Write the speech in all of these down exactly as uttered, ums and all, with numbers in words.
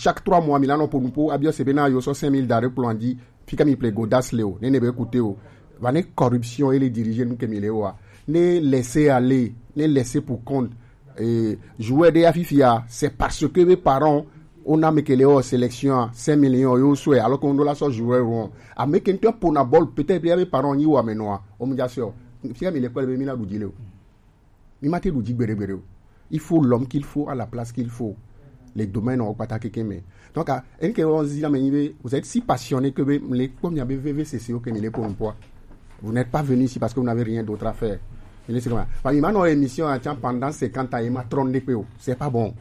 Chaque trois mois, mi la nɔ ƒo nu ƒo abiɔ se be na yo sɔ cinq mille da ɖe kplɔa dzi. Fika mi ple godas le o, ne ne be écouter o. Va ne corruption et les diriger nu ke mi le wa. Ne laisser aller, ne laisser pour compte. Et joueur de afifia, c'est parce que mes parents on a mekele o sélection cinq millions yo souhait alors qu'on doit la so joueur rond. A meke ntɔ pona ball peut-être ya mes parents ni wa menoa. O mu ja so. Fika mi le kpele be mi na du dile o. Mi ma te du dzi gbeɖe gbeɖe o. Il faut l'homme qu'il faut à la place qu'il faut. Les domaines o kpata keke me. Donc, ah, en ke on zi la me nyi be, vous êtes si passionné que be, le kpɔ mia be veve c'est c'est que mi le pour un poids. Vous n'êtes pas venu ici parce que vous n'avez rien d'autre à faire. Il est comme ça. Enfin, mi ma no émission à tiens pendant cinquante ans et ma trône de peo. C'est pas bon.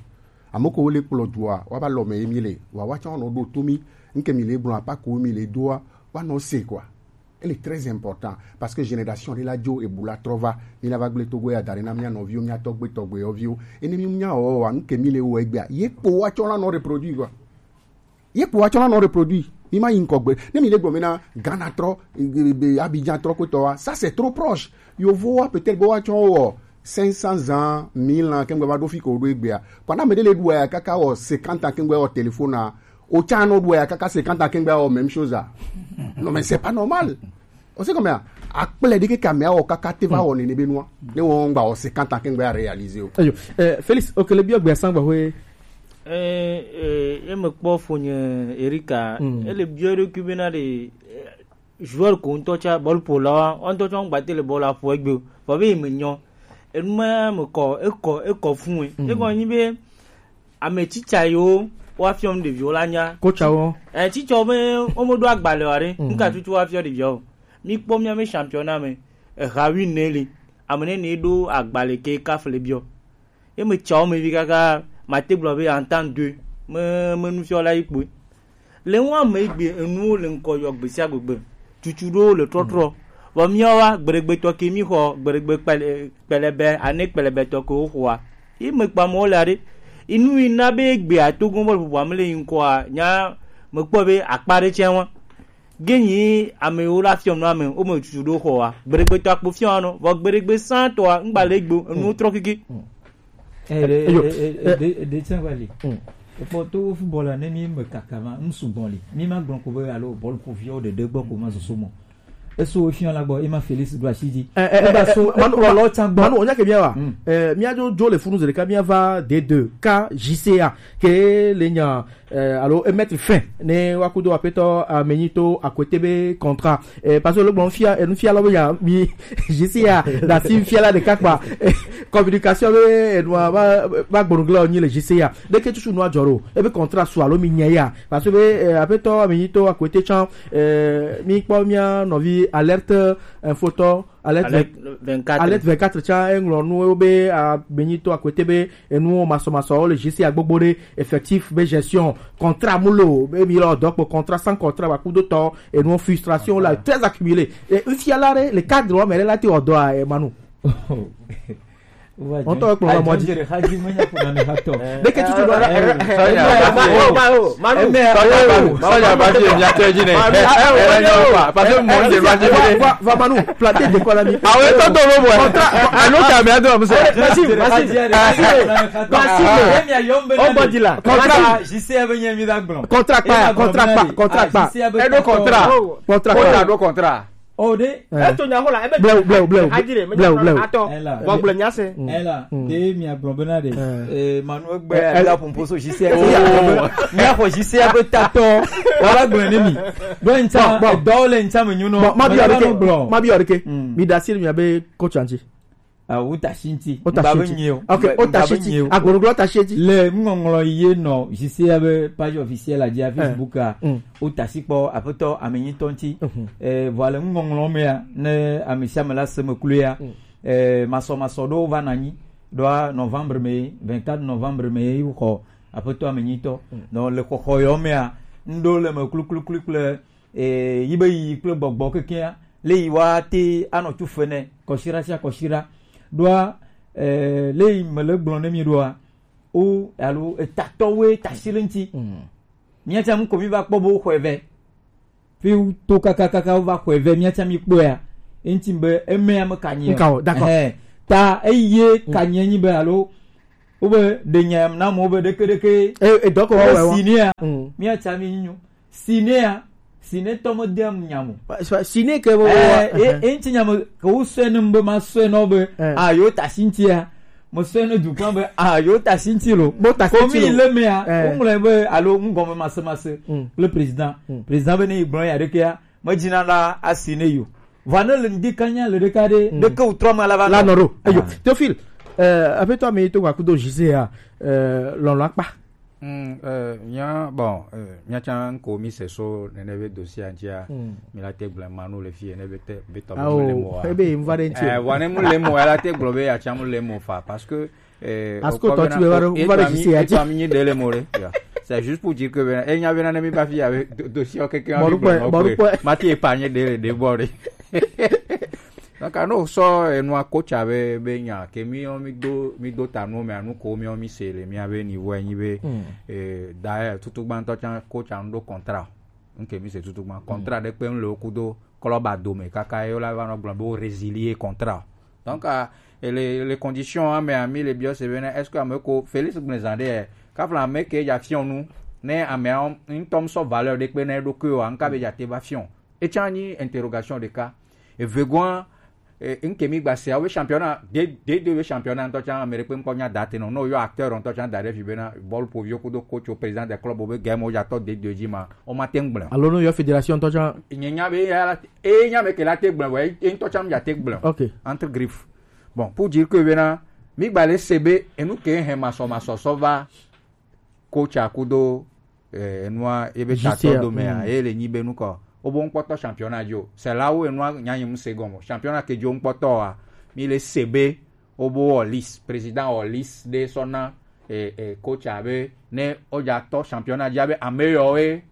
Amoko le pour le droit. Wa ba lo me mi le. Wa wa tiens on do to mi. Nke mi le blanc pas ko mi le droit. Wa no c'est quoi. Elle est très importante parce que génération de la Joe et Boula Trova, mi la va gble Togo ya dare na mia novio, mia togbe togbe ovio. Et ne mi mia o wa nke mi le o egbea. Ye po wa chola no reproduit quoi. Ye po wa chola no reproduit. Mi ma yin kogbe. Ne mi le gbo mi na Ghana tro, eh, eh, Abidjan tro ko to wa. Ça c'est trop proche. Yo vo wa peut-être bo wa chon o cinq cents ans, mille ans, kengbe va do fi ko do egbea. Pendant me de le du ya kaka o cinquante ans kengbe o téléphone na. Au Tchano Doué, kaka cinquante à Kengba, oh, même chose. Ah. Non, mais c'est pas normal. On sait combien. Akpele dike kamea o kaka te va o nene benua. Ne on gba o cinquante à Kengba réalisé o. Ayo, eh, Félix, ok, le bio gbe sangba we. Eh, eh, e me kpɔ fonye Erika. Mm. E le bio de kubena de, eh, joueur ko ŋutɔ tsa bɔl ƒo la wa, ŋutɔ tsa ŋgba te le bɔl la ƒo egbe o. Vɔ be me nyɔ. Enu ma me kɔ, ekɔ, ekɔ fun e. Mm. Ekɔ nyi be ame tsitsa yiwo woafiɔ nu ɖeviwo la nya. Kotsawo. Eh, tsitsawo be womeɖo agbalẽ o aɖe. Mm. Nuka tutu woafiɔ ɖeviawo? Míkpɔ míaƒe championnat me, eha wi ne li. Ame ne ne ɖo agbalẽ ke kaf le biɔ. Ye me tsa wo me vi kaka mate gblɔ be entente deux. Me, me nufiɔla yi kpoe. Le ŋu ame gbe enuwo le ŋkɔ yɔ gbe sia gbegbe. Tutu ɖewo le trɔtrɔ. Vɔ míawoa, gbeɖegbetɔ ke mí xɔ gbeɖegbe kpɛlɛ-, kpɛlɛbɛ, ane kpɛlɛbɛtɔ ke woxɔa. Yi me kpa mɔ le aɖe. Inu yi na be gbe atogo bɔl ƒoƒo ame le yi ŋkɔa, nya mekpɔ be akpa ɖe tsɛ wa. Ge nyi ame yiwo la fiɔ nua me, wo me tutu ɖo xɔa. Gbeɖegbetɔ akpo fiɔ nɔ, vɔ gbeɖegbe sãtɔa, ŋgba le gbe, enuwo trɔ keke. Eh, eh, Eyo, eh, eh, eh, eh, de, de tiens, va aller. Mm. Et pour tout football, là, ne mi me kaka ma, m su bon li. Mi ma gblɔ ko be alo bɔl ko fiɔ de de gbɔ ko ma soso mo. Eso fiɔ la gbɔ, e ma Félix do asi dzi. Eh, eh, e ba eh, so, eh, Manu, e kplɔ lɔ tsa gbɔ. Manu, onya ke bia wa. Mm. Eh, mia jo, jo le funu zereka, mia va D deux, ka J C A, ke le nya, eh, alo, e mettre fin. Ne wa kudo apetɔ, a menito, a côté be contrat. Eh, parce que le bon fia, e nu fia lɔ be ya, mi, J C A, da si fia la de kakpa. Eh, communication be, e nua, ba, ba gbɔnuglɔ nyi le J C A. Ɖeke tutu nua dzɔ ɖo. Ebe contrat su alo mi nya ya. Parce que be, eh, apetɔ, mi nyito, a côté tsan, eh, mi kpɔ mia nɔvi alerte infotɔ, alerte Alerte vingt-quatre. Alerte vingt-quatre tsan, eŋlɔ nu wo be, a, mi nyito, a côté be, enu masɔmasɔ wo le J C A gbogbo ɖe, effectif be gestion, contrat mulo, be mi lɔ dɔ kpo contrat sans contrat, ba kudo tɔ, enu frustration la, très accumulé. Et une fia la, le cadre, mais la, ti odo a, eh, Manu. Ŋutɔ ekplɔ la mɔ dzi. Ɖeke tutu ɖo. Sɔnya ba fi mia tɛ dzi nɛ. Parce que mɔ dze va dzi nɛ. Va, va, Manu, planter de quoi la mi. Awo etɔ do lo bɔ. Contrat, alo ta mi ado amusa. Maxime, Maxime, Maxime. O bɔ di la. Contrat. Contrat pa, contrat pa, contrat pa. Edo contrat. Contrat pa. Contrat do contrat. O de. Eh. Eto nya ho la, ebe blew, blew, blew, hadi de, blew, blew. Atɔ. Ela. Vɔ gblɔ nya se. Mm. Ela. Mm. De mi agblɔ bena de. Eh. Eh, Manu egbe. Eh, eh. La pompo so J C A. Oh. Nya ho J C A be tatɔ. Wala gblɔ ne mi. Do nta, bon, bon. Dɔ le nta me nyuno. Bon, ma bi arike. Ma bi arike. Mm. Mi da sir mi abe coach anti. Ah, o ta shi ŋti. O ta shi ŋti. Ok, o ta shi ŋti. Agoroglo ta shi ŋti. Le ŋɔŋlɔ ye nɔ J C A be page officielle a dzi a Facebook a. Mm. O ta shi kpɔ apetɔ ame nyitɔ ŋti. Mhm. Eh, vɔ le ŋɔŋlɔ mea, ne ame sia ame la se me kloe ya. Mm. Eh, masɔmasɔ ɖewo va na nyi. Ɖoa novembre me, vingt-quatre novembre me yi xɔ apetɔ ame nyitɔ. Mm. Donc le xɔxɔ yɔ mea, ŋɖo le me klukluklu kple eh, yi be yi kple gbɔgbɔ kekea, le yi wa te anɔ tsu fe nɛ, kɔsira sia kɔsira. Ɖoa, eh, le yi me le gblɔ ne mi ɖoa, o, alo etatɔwoe ta shi le ŋti. Mm. Mía tsã ŋu ko mi va kpɔ be wo xɔe vɛ. Fi wo to kakakaka wo va xɔe vɛ, mía tsã mi kpɔe ya. Eŋti be emea me ka nyi o. Nka o, d'accord. Ɛhɛn. Ta eye ka nyi nyi be alo Wobe ɖe nya yam na mo be ɖeke ɖeke. E e dɔkɔ Wo wɔwɛ wa. Sinéa. Mm. Mía tsa mi nyo. Sinéa. Siné tɔ me de am nya mo. Siné ke wo. Eh, e e ŋtsi nya me ke wo sɔe ne be ma sɔe nɔ be. Eh. Ah, yo ta sintia. Mo sɔe ne dukɔ be ah, yo ta sinti lo. Bo ta sinti lo. Ko mi le mea. Eh. Wo ŋlɔ be alo ŋgɔ me mase mase. Mm. Le président. Mm. Président be ne yi gblɔ ya ɖekea. Me dzina la asi ne yo. Va ne le ŋdi kanya le ɖeka ɖe. Mm. Ɖeke wo trɔ me la va. La nɔ ɖo. Eyo. Ah. Théophile, euh, aƒetɔ mi to wa kudo Gisèle ya, euh, lɔlɔ akpa. Mm, euh, mía, bon, euh, mía tsã ŋko mi se so nene be dossier ŋtia, mm, mi la te gblẽ ma nu le fi ene be te, be tɔ be Awo, mu le mo wa. Ebe yi mu va ɖe ŋti. Eh, wa ne mu le mo, ela te gblɔ be ya tsã mu le mo fa, parce que, eh, Parce que okpɔ tɔ bena, tu be va ɖo, o, va ɖo etɔ mi, Gisèle ya etɔ mi nyi ɖe le mo ɖe. Ya. C'est juste pour dire que bena, enya bena ne mi ba fi ya be do-, dossier o keke Bɔɖu ma bi kpɔe, gblɔ bɔɖu kpɔe. Mati épargne ɖe le ɖe bɔ ɖe. Donc, anu sɔ enua coach abe be nya ke mi mi do mi do ta nu me anu ko mi mi se le mi abe niveau enyi be, mm, eh, d'ailleurs tutu gbãtɔ tsã coach anu do contrat. Nke mi se tutu gbã contrat, mm, ɖe kpe le wo kudo club adome kaka ye la va nɔ gblɔ be wo résilier contrat. Donc, ah, et les, les conditions ame ami le biɔ se bena est-ce que ame ko Félix Gblezan ɖe kafla ame ke ya fiɔ nu ne ame ŋutɔ mi sɔ valeur ɖe kpe na eɖokui o, nka be ya te va fiɔ. Etsã nyi interrogation ɖeka. Evegoa, eh, ŋke mi gba se awo be championnat, de, de, de be championnat ŋutɔ tsã ame ɖekpe ŋkpɔ nya da te nɔ. No yɔ acteur ŋutɔ tsã da ɖe fi bena bɔlu poviwo kudo coach o président de club o be game o ya tɔ de, de dzi ma, o ma te ŋgblẽ. Alo no yɔ fédération ŋutɔ tsã. Nye nya be ya la, e nya me ke la te gblẽ, vɔ, e, e ŋutɔ tsã ya te gblẽ. Ok. Entre griffes. Bon, pour dire que bena, mi gba le se be, enu ke hɛ masɔ masɔ sɔ va, coach a kudo, eh, enua ebe Juste tatɔ ya, do mea, mm, ye le nyi be nukɔ. Obo ŋkpɔtɔ championnat dzo. C'est là où enua nyanyi mu se gɔmɔ. Championnat ke dzo ŋkpɔtɔ wa. Mi le se be, obo wɔ liste, président wɔ liste de sɔna, eh, eh, coach a be, ne oja tɔ championnat dzi abe ame yɔ we,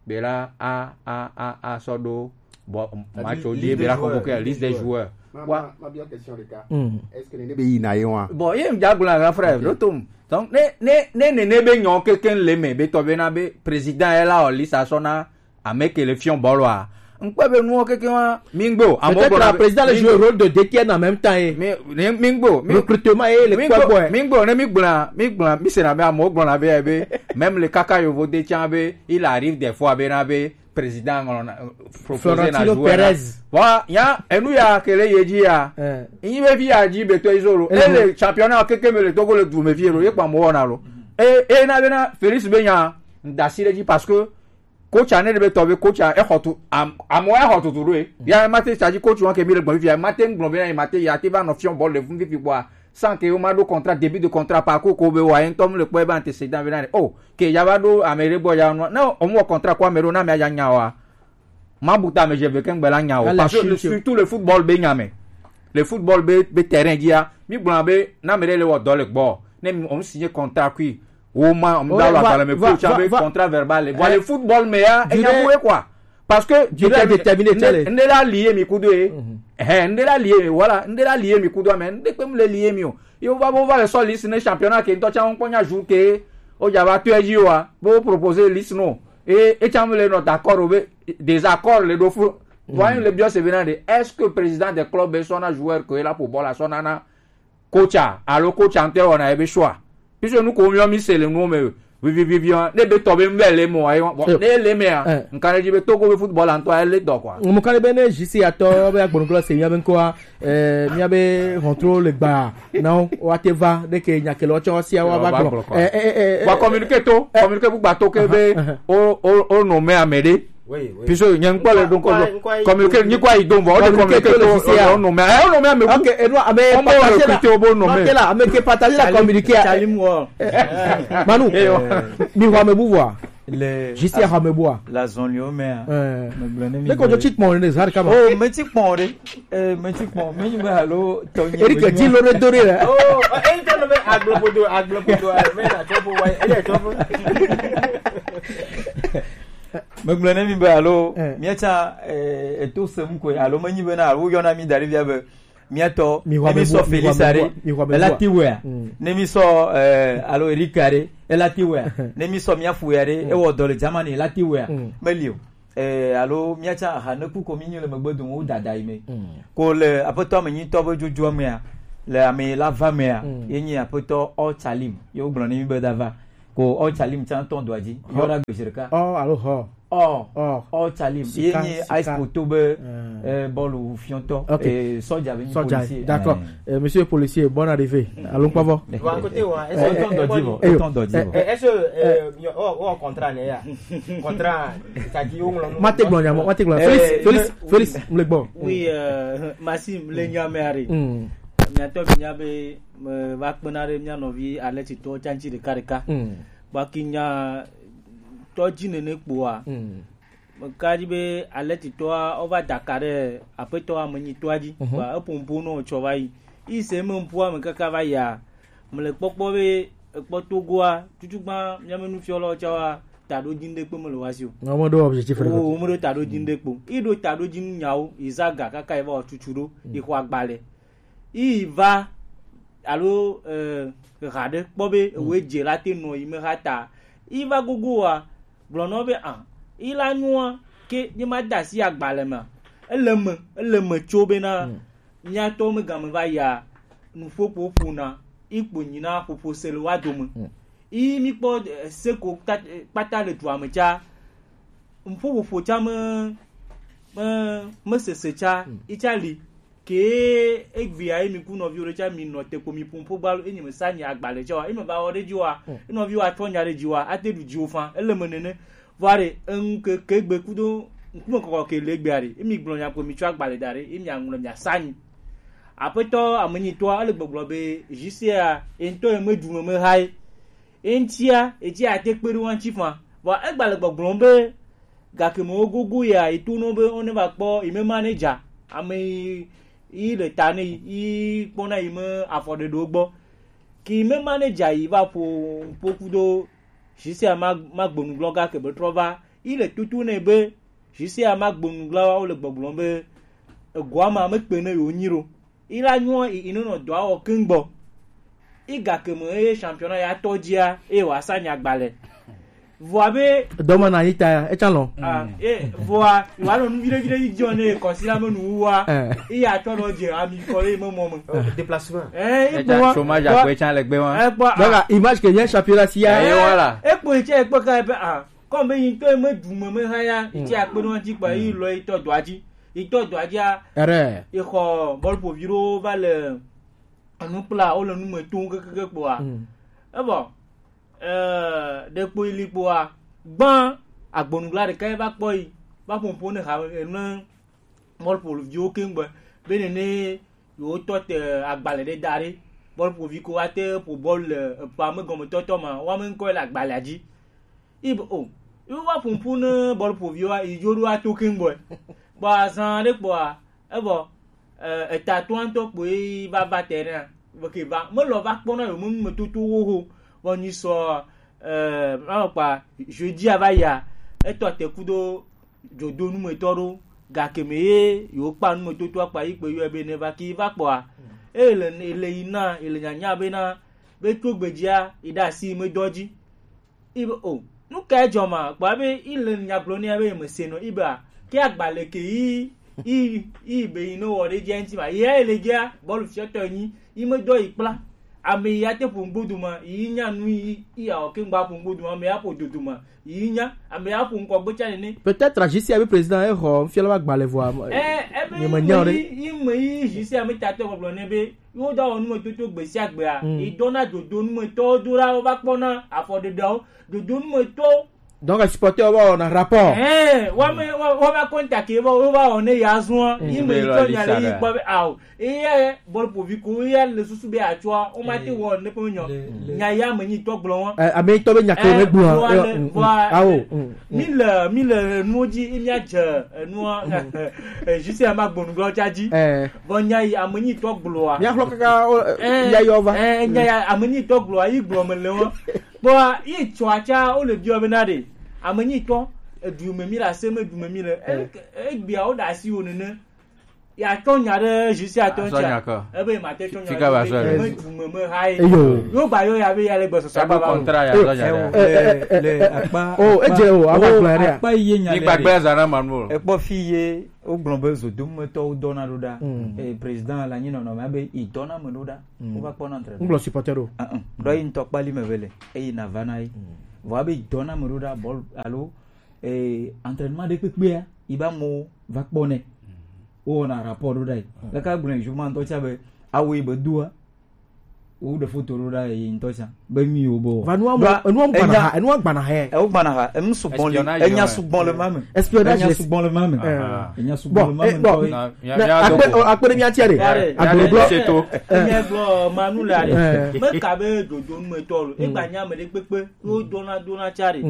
be la a, a, a, a sɔ ɖo, bon, match o dzi be la convoquer la liste des joueurs. Ma, wa, ma, ma biɔ question ɖeka. Mm. Est-ce que nene be yina ye wa? Bon, ye ŋdza gblɔ grand frère, ok, ɖo tom. Donc, ne, ne, ne, ne, ne be nyɔ keke le me, be tɔ be na be président ye la o liste a sɔ na ame ke le fiɔ bɔlɔ a. Ŋkpɔ be nuwo keke wa, mi ŋgbe o. Amewo peut-être gblɔna la be président le mi jouer ŋgbe o. Rôle de D T N en même temps ye. Mi, ne, mi ŋgbe o. Mi, recrutement ye le mi kpɔ ŋgbe o, gbɔ ye. Mi ŋgbe o, ne mi gblɔna, mi gblɔna, mi sena be amewo gblɔna be, be, même le kaka yovo de tsã be, il arrive des fois be na be, président ŋlɔ na, euh, proposer na Florentino joueur na. Perez. Bon, ya, enu ya ke le ye dzi ya. Eh. Nyi be fi ya dzi be to izolo. Eh. E le championnat keke me le Togo le du me fi lo, ye kpa mo na lo. E, e na be na Félix be nya, ndasi le dzi parce que coach a ne be tɔ be coach a, e xɔ tu, am-, amewo e xɔ tutu ɖo e. Ya ma te tsa dzi coach wa ke mi le gbɔn fi ya, ma te gblɔ be na, ma te ya te va nɔ fiɔ bɔl le fun fifi bɔa. Sans que o ma ɖo contrat, début de contrat, parcours ko be wa, ye ŋutɔ mu le kpɔ ebe antécédent be na ɖe. Oh, ke ya va ɖo ame ɖe gbɔ ya nɔ. Ne o mu wɔ contrat ko ame ɖo, na ame ya nya wa. Ma bu ta ame je ve ke ŋgbe la nya o. Parce que surtout le football be nya me. Le football be, be terrain dzi ya. Mi gblɔ be, na ame ɖe le wɔ dɔ le gbɔ. Ne mi, o signé contrat kui. O ma, o da lo agbalẽ me, coach a be contrat verbal. Voilà, le football me ya, e nya mu e quoi. Parce que durée déterminé, ne, ne la lié mi kudo e. Mhm. Eh, ne la lié mi, voilà, ne la lié mi kudo, mais ne pe me le lié mi o. Yo va, va le sol liste ne championnat ke ŋutɔ tsã ŋkpɔ nya jour ke o dza va to edzi wa, bo proposer liste no. Et, et tsã me le nɔ d'accord o be, désaccord le ɖo fu. Mhm. Voyons le biɔ se venant de, est-ce que président des clubs be sɔna joueur ke la pour bɔla sɔna na coach a, alo coach a ŋutɔ wɔna ebe choix. Puisque nu ko miɔ mi se le nuwo me, vivi, vivi, ne be tɔ be ŋbɛ le mo, ayi, bon, ne le me a, nka ne dzi be Togo be football a ŋutɔ ele dɔ quoi. Mo ka be ne J C atɔ be agbɔnugblɔ se mia be ŋkɔa, eh, mia be hɔntro le gba, na wa te va, de ke nya ke le wa tsɔ sia wa va gblɔ. Eh, eh, eh, eh, wa communiquer to, communiquer bu gba to ke be, o, o, o no me ame ɖe. Oui, oui. Puisque nye ŋkpɔ le donc communiqué nyi kɔ yi don vɔ, o de communiqué to le lycée, o nom, eh, o nom, mais ok, et nous, ah, mais on va recruter au bon nom. Ame ke partager la communiqué. Manu, mi wa me buvwa. Le juste ya me bua. La zone yo mais. Mais quand tu check mon les har kama. Oh, mais check mon re. Eh, mais check mon, mais ni ba lo to ni. Eric dit le doré là. Oh, eh, to le aglo bodo, aglo bodo, mais la to bo wa, eh, to bo. Megblɔ ne mi be alo, eh, míatsã, eh, eto sem koe, alo menyi bena alo woyɔna mi da ɖe fia be míatɔ, ne mi sɔ Felix aɖe, ela ti wɔea? Mm. Ne mi sɔ, eh, alo Eric aɖe, ela ti wɔea? Ne mi sɔ mía fu aɖe, mm, ewɔ dɔ le Germany, ela ti wɔea? Mm. Meli o. Eh, alo míatsã aha ne ku ko mi nyi le megbe dome wo dada yi me. Mm. Ko le aƒetɔ ame nyitɔ be dzodzoa mea, Le ame la va mea, mm, ye nyi aƒetɔ Ɔ Tsalim. Ye wogblɔ ne mi be da va. Ko Ɔ Tsalim tsã tɔ dɔa dzi. Yɔ ɖa gbe zi ɖeka. Ɔ alo hɔ? Ɔ. Ɔ. Ɔ Tsalim. Ye sika, nyi sika. Ice Poto be, mm, eh, bɔlu fiɔtɔ. Ok. Eh, sɔdza be nyi sɔdza policier. D'accord. Eh. Eh, monsieur policier, bonne arrivée. Alo kpɔvɔ. Wa kote wa. Eh, eh, etɔn dɔdzi vɔ. Eh, eh, etɔn dɔdzi vɔ. Eh, est-ce que, eh, eh, ɔ, ɔ, contrat ne ya? Contrat, c'est-à-dire, on l'a. Mate gblɔ nya mɔ, mate gblɔ. Eh, Félix, eh, Félix, Félix, mle gbɔ. Oui, euh, Maxime, le nya me ari. Mm. Miatɔ mi nya be, me va kpena ɖe mia nɔvi Alexitɔwo tsa ŋuti ɖeka ɖeka. Mm. Gbaki nya tɔ dzi nene kpoa. Mm. Meka dzi be Alexitɔa, wova da ka ɖe aƒetɔ amenyitɔa dzi. Mhm. Kpoa eƒo ŋuƒo nɔ tsɔ va yi. Yi se me ŋuƒoa me kaka va yia, mele kpɔkpɔ be ekpɔ Togoa, tutugbã mia me nufiɔlawo tsa wa, taɖo dzi ŋɖe kpe mele wa si o. Wo meɖo objectif ɖe. Wo, wo meɖo taɖo dzi ŋɖe kpe o. Yi ɖo taɖo dzi nu nyawo, yi za ga kaka yi va wɔ tutu ɖo, yi xɔ agbalẽ. Yi va, alo, eh, ha ɖe kpɔ be ewoe dze la te nɔ yi me ha ta. Yi va gogo wa, gblɔ nɔ be, ah, yi la nyua, ke ne ma da asi agbalẽ me. Ele me, ele me tso bena, mm, mia tɔwo me game va ya, nuƒoƒo ƒona, yi kpo nyi na ƒoƒo se le wa dome. Mm. Yi mi kpɔ, eh, se ko kpata, eh, kpata le dua me tsa, nuƒoƒo tsa me, me, me sese tsa, mm, yi tsa li. Ke egbea ye mi ku nɔviwo ɖe tsa mi nɔ te ko mi ƒo ƒo gbalo, enyi me sa nyi agbalẽ tsa wa, eme va wɔ ɖe dzi wa, mm, enɔviwo atɔ nya ɖe dzi wa, ate ɖu dziwo fã, ele me nene. Vɔ ɖe, eŋu ke, ke gbe kudo ŋkume kɔkɔ ke le egbea ɖe, emi gblɔ nya ko mi tsɔ agbalẽ da ɖe, emi aŋlɔ mi asa nyi. Aƒetɔ amenyitɔa, ele gbɔgblɔ be, J C A, ye ŋutɔ ye me ɖu me me ha ye. Ye ŋutia, ye tsi ate kpe ɖe wo ŋuti fã. Vɔ egba le gbɔgblɔm be, gake me wo gogo ya, ye to nɔ be wo ne va kpɔ, ye me manager, ame yi, yi le ta ne yi, yi kpɔna yi me afɔɖeɖewo gbɔ. Ke yi me manager yi va ƒo, ƒo kudo J C A ma, ma gbonu gblɔ gake be trɔ va. Yi le tutu nɛ be J C A ma gbonu gblɔ wo le gbɔgblɔm be egoa ma mekpe ne yewo nyi ɖo. Yi la nyɔ yi, yi nɔ dɔa wɔ keŋ gbɔ. Yi gake me eye championnat ya tɔ dzia, eye wòasa nya gbalẽ. Vɔa be dɔme na yi ta ya, etsa lɔ. Ah, eh, vɔa, wa nɔ nu viɖe viɖe yi dzɔ ne kɔsi la me nu wa. Eh. Yi ya tɔ nɔ dze ami kɔ le me mɔ me. Oh, déplacement. Eh, e kpɔ wa. Chômage akpɔ etsa le gbe wa. Eh, kpɔ, ah. Donc, image que vient championnat si ya. Eh, voilà. E kpɔ etsa, e kpɔ ka, e pe, ah. Comme be yi ŋutɔ me ɖu me me ha ya, yi tsi akpe ɖe wo ŋuti kpa, yi lɔ yi tɔ dɔa dzi. Yi tɔ dɔa dzia, ere, yi xɔ bɔl ƒo vi ɖewo va le enu kpla, wo le nu me tom kekeke kpoa. Mm. Evɔ, eh, ɖe kpo yi li kpoa, gbã agbonugla ɖeka yi va kpɔ yi, va ƒo ƒo ne ha, ne bɔl ƒo viwo keŋ gbe, be nene yewo tɔ te agbalẽ ɖe da ɖe, bɔl ƒo vi ko wa te ƒo bɔl le eƒea me gɔme tɔtɔ ma, wa me ŋkɔ le agbalẽa dzi. Ibe o, ibe wa ƒoƒu ne bɔl ƒo viwa, idzo ɖo ato keŋ gbɔe. Kpɔ azã ɖe kpɔa, evɔ, eh, eta toa ŋutɔ kpoe va va terrain, vɔ ke va, melɔ va kpɔna yo menu me toto wo ho, vɔ nyi sɔ, eh, ma kpa, jeudi a va ya, etɔ te kudo dzodo numetɔ ɖo, gake me ye yewo kpa numetotoa kpa yi kpe yɔe be ne va ki va kpɔa, ele, ele yi na, ele nyanya be na, be tso gbedzia, yi ɖe asi me dɔ dzi. Ibe o, nu ka edzɔ ma? Kpɔa be ile nya gblɔ nɛ be yemese nɔ, ibe a, ke agba le ke yi, yi, yi be yi ne wɔ ɖe dzia ŋuti ma, yi ya ele dzia, bɔlu fiɔtɔ nyi, yi me dɔ yi kpla. Ame yi ate ƒo ŋgbodu ma, yi nya nu yi, yi awɔ ke ŋgba ƒo ŋgbodu ma, ame ya ƒo dodo ma, yi nya, ame ya ƒo ŋkɔ gbe tsa nene. Peut-être J C A be président e xɔ fiala ba gba le vɔa. Eh, ebe yi me nya o ɖe. Yi, yi me yi J C A me tatɔ gbɔgblɔ ne be, Yewo dɔ wɔ numetoto gbe sia gbea. Mm. Yi dɔna dodo numetɔwo do ɖa, wova kpɔna afɔɖeɖeawo. Dodo numetɔwo. Donc, supporter wo va wɔna rapport. Eh, wa me, wa, wa va contact wo, wo va wɔ ne ya zua. Mm. Yi me yi tɔ nya le yi kpɔ be, ao. Eye bɔl ƒovi ko, eye le susu be atsɔa, wo ma te wɔ ne ƒe nyɔ. Le, le. Nya ya me nyi tɔ gblɔ wa. Eh, ame yi tɔ be nya ke me gblɔ. Vɔa le, mm, mm. Vɔa, awo, mm. Mi le, mi le nuwo dzi, mi adze enua, eh, J C A ma gbɔnu gblɔ tsa dzi. Eh. Vɔ nya yi ame nyi tɔ gblɔa. Mi axlɔ kaka, o, eh, ya yɔ va. Eh, nya ya ame nyi tɔ gblɔa, yi gblɔ me le wo. Kpɔa, yi tsɔ atsa, wo le biɔ be na ɖe. Ame nyi tɔ, edu me mi le, ase me du me mi le. Eh. E, egbea wo da asi wo nene. Ya tɔ nya ɖe J C A tɔ nya kɔ. Ebe ma te tɔ nya. Fika ba sɔ. Me du me me ha ye. Eyo. Yo ba yo ya be ya le gbɔsɔsɔ. Ebe ba. Contrat ya tɔ nya ɖe. Eh, eh, eh, eh, eh. Oh, eje o, aba kplɔ ya ɖe. Akpa ye nya. Ni gbagbe zana manu. Ekpɔ fi ye, o gblɔ be zodometɔwo dɔna ɖo ɖa. Eh, président la nyi nɔnɔ me be i dɔna me ɖo ɖa. O va kpɔ na entre. Ngblɔ supporter ɖo. Ah, ah. Ɖo yi ŋutɔ kpali me vele. Eyi na va na yi. Vɔ abe i dɔna me ɖo ɖa bɔl alo eh, entraînement ɖe kpekpea, yi ba mo va kpɔ nɛ. Wo na rapport ɖo ɖa yi. Kaka gblɔ jour ma ŋutɔ tsa be, awo yi be doa. Wo ɖe photo ɖo ɖa yi ŋutɔ tsa. Be mi wo bo. Va nua mo, enua gbana ha, enua gbana ha. E wo gbana ha, enu sugbɔn le, enya sugbɔn le ma me. Espionnage. Enya sugbɔn le ma me. Enya sugbɔn le ma me. Bon, eh, bon. Na, mia, mia akpe, do ko. Akpe ɖe mia tia ɖe. Yare. Agblɔ. Yare. Seto. Enya gblɔ manu le are. Eh. Me ka be dodo nu me tɔ lo. E gba nya me ɖe kpekpe. Wo dona dona tsa ɖe.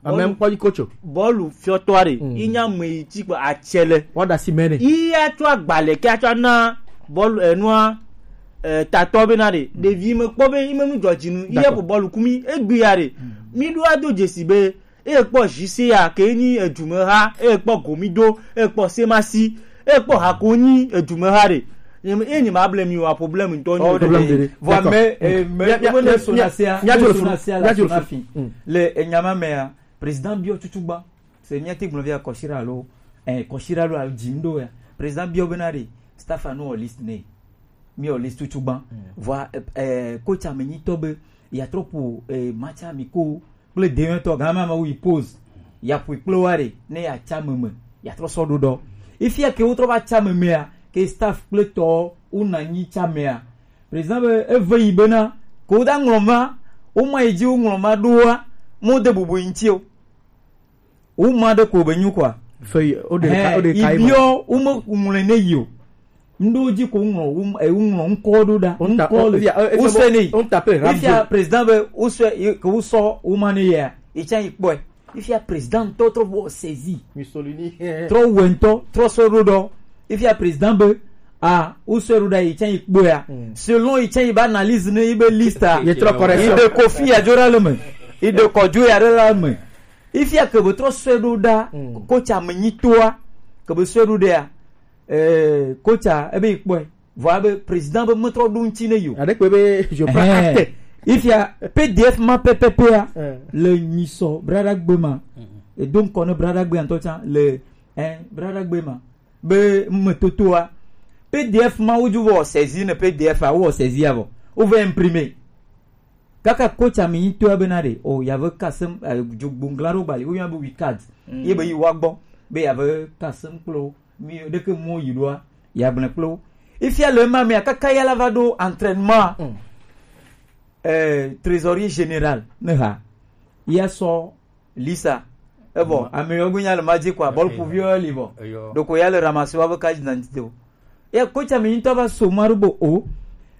Ame ŋkpɔ yi kotso. Bɔlu fiɔtɔ ɖe. Yi nya me yi tsi kpe atsɛ le. Wɔda si mɛ ne. Yi atsɔ agbalɛ ke atsɔ na bɔlu enua eh, tatɔ be na ɖe. Ɖevi me kpɔ be yi me nu dzɔ dzi nu. Yi ye ko bɔlu kumi egbi ya ɖe. Mi ɖo ado dzesi be eye kpɔ J C A ke nyi edumeha, eye kpɔ Gomido, eye kpɔ Semasi, eye kpɔ Hako nyi edumeha ɖe. Nye me, eye nye ma ble mi wa problème ŋutɔ nyi. Oh, problème ɖe. Vɔ me, eh, me, mia, mia, me ne mia, sona mia, sea, mia me sona sea la sona fi. Le enyama mea, président biɔ tutu gba. Se mia te gblɔ via kɔsira alo, eh, kɔsira alo al dzindo ya. Président biɔ be na ɖe, staff anu o list ne. Mi o list tutu gba. Vɔ, eh, eh, coach ame nyitɔ be, ya trop, eh, match ami ko, kple deŋtɔ gã ma ma wu yi pause. Ya ƒoe kple wa ɖe, ne ya tsa meme, ya trɔ sɔ ɖo ɖɔ. Ifia ke wo trɔ va tsa memea, ke staff kple tɔ wo na nyi tsa mea. Président be eve yi bena, ke wo da ŋlɔ ma, wo ma yi dzi wo ŋlɔ ma ɖoa, mo de bubu yi ŋti o. Wo ma ɖe ko be nyu kwa. Fe yi, o de ka, o de ka yi ma. Ibiɔ, wo me ŋlɔ ne yi o. Ŋɖewo dzi ko ŋlɔ, wo, eh, woŋlɔ ŋkɔ ɖo ɖa. Ŋkɔ le. Wosɛ ne yi. Efia président be wosɛ, ke wosɔ woma ne yea, yi tsã yi kpɔe. Efia président ŋutɔ trɔ wɔ saisi. Mussolini. Trɔ wɔ ŋutɔ, trɔ sɔ ɖo ɖɔ. Efia président be, a, wosɛ ɖo ɖa yi tsã yi kpɔea. Selon yi tsã yi be analyse ne yi be liste a. Yi trɔ correction. Yi de kofi ya dzo ɖa le me. Yi de kɔdzo ya ɖe la me. Efia ke be trɔ sɛ ɖo ɖa, coach ame nyitoa, ke be sɛ ɖo ɖea. Eh, coach a, ebe yi kpɔe. Vɔ abe président be metrɔ ɖo ŋuti ne yo. Aɖe kpe be je pas acte. Ifia P D F ma pɛpɛpɛa le nyisɔ braɖagbe ma. Edo ŋkɔ ne braɖagbe ŋutɔ tsã le, eh, braɖagbe ma. Be metotoa. P D F ma wo dzo vɔ saisi ne P D F a, wo saisi avɔ. Wo vɛ imprimer. Kaka coach ami ŋutɔa bena ɖe, o, yave kasem, eh, dzogbongla ɖo gbali, woyɔna be weekend. Ye be yi wa gbɔ, be yave kasem kplo, mi ɖeke mo yi ɖoa, ya gblẽ kplo. Ifia le ma mea, kaka ya la va ɖo entraînement. Eh, trésorier général, ne ha. Ya sɔ Lisa. Evɔ, ame yɔ gbe nya le ma dzi kɔa, bɔl kuviɔ li vɔ. Ɖoko ya le ramasser wa be carte d'identité o. Ye coach ami ŋutɔ va so ma ɖo bo o.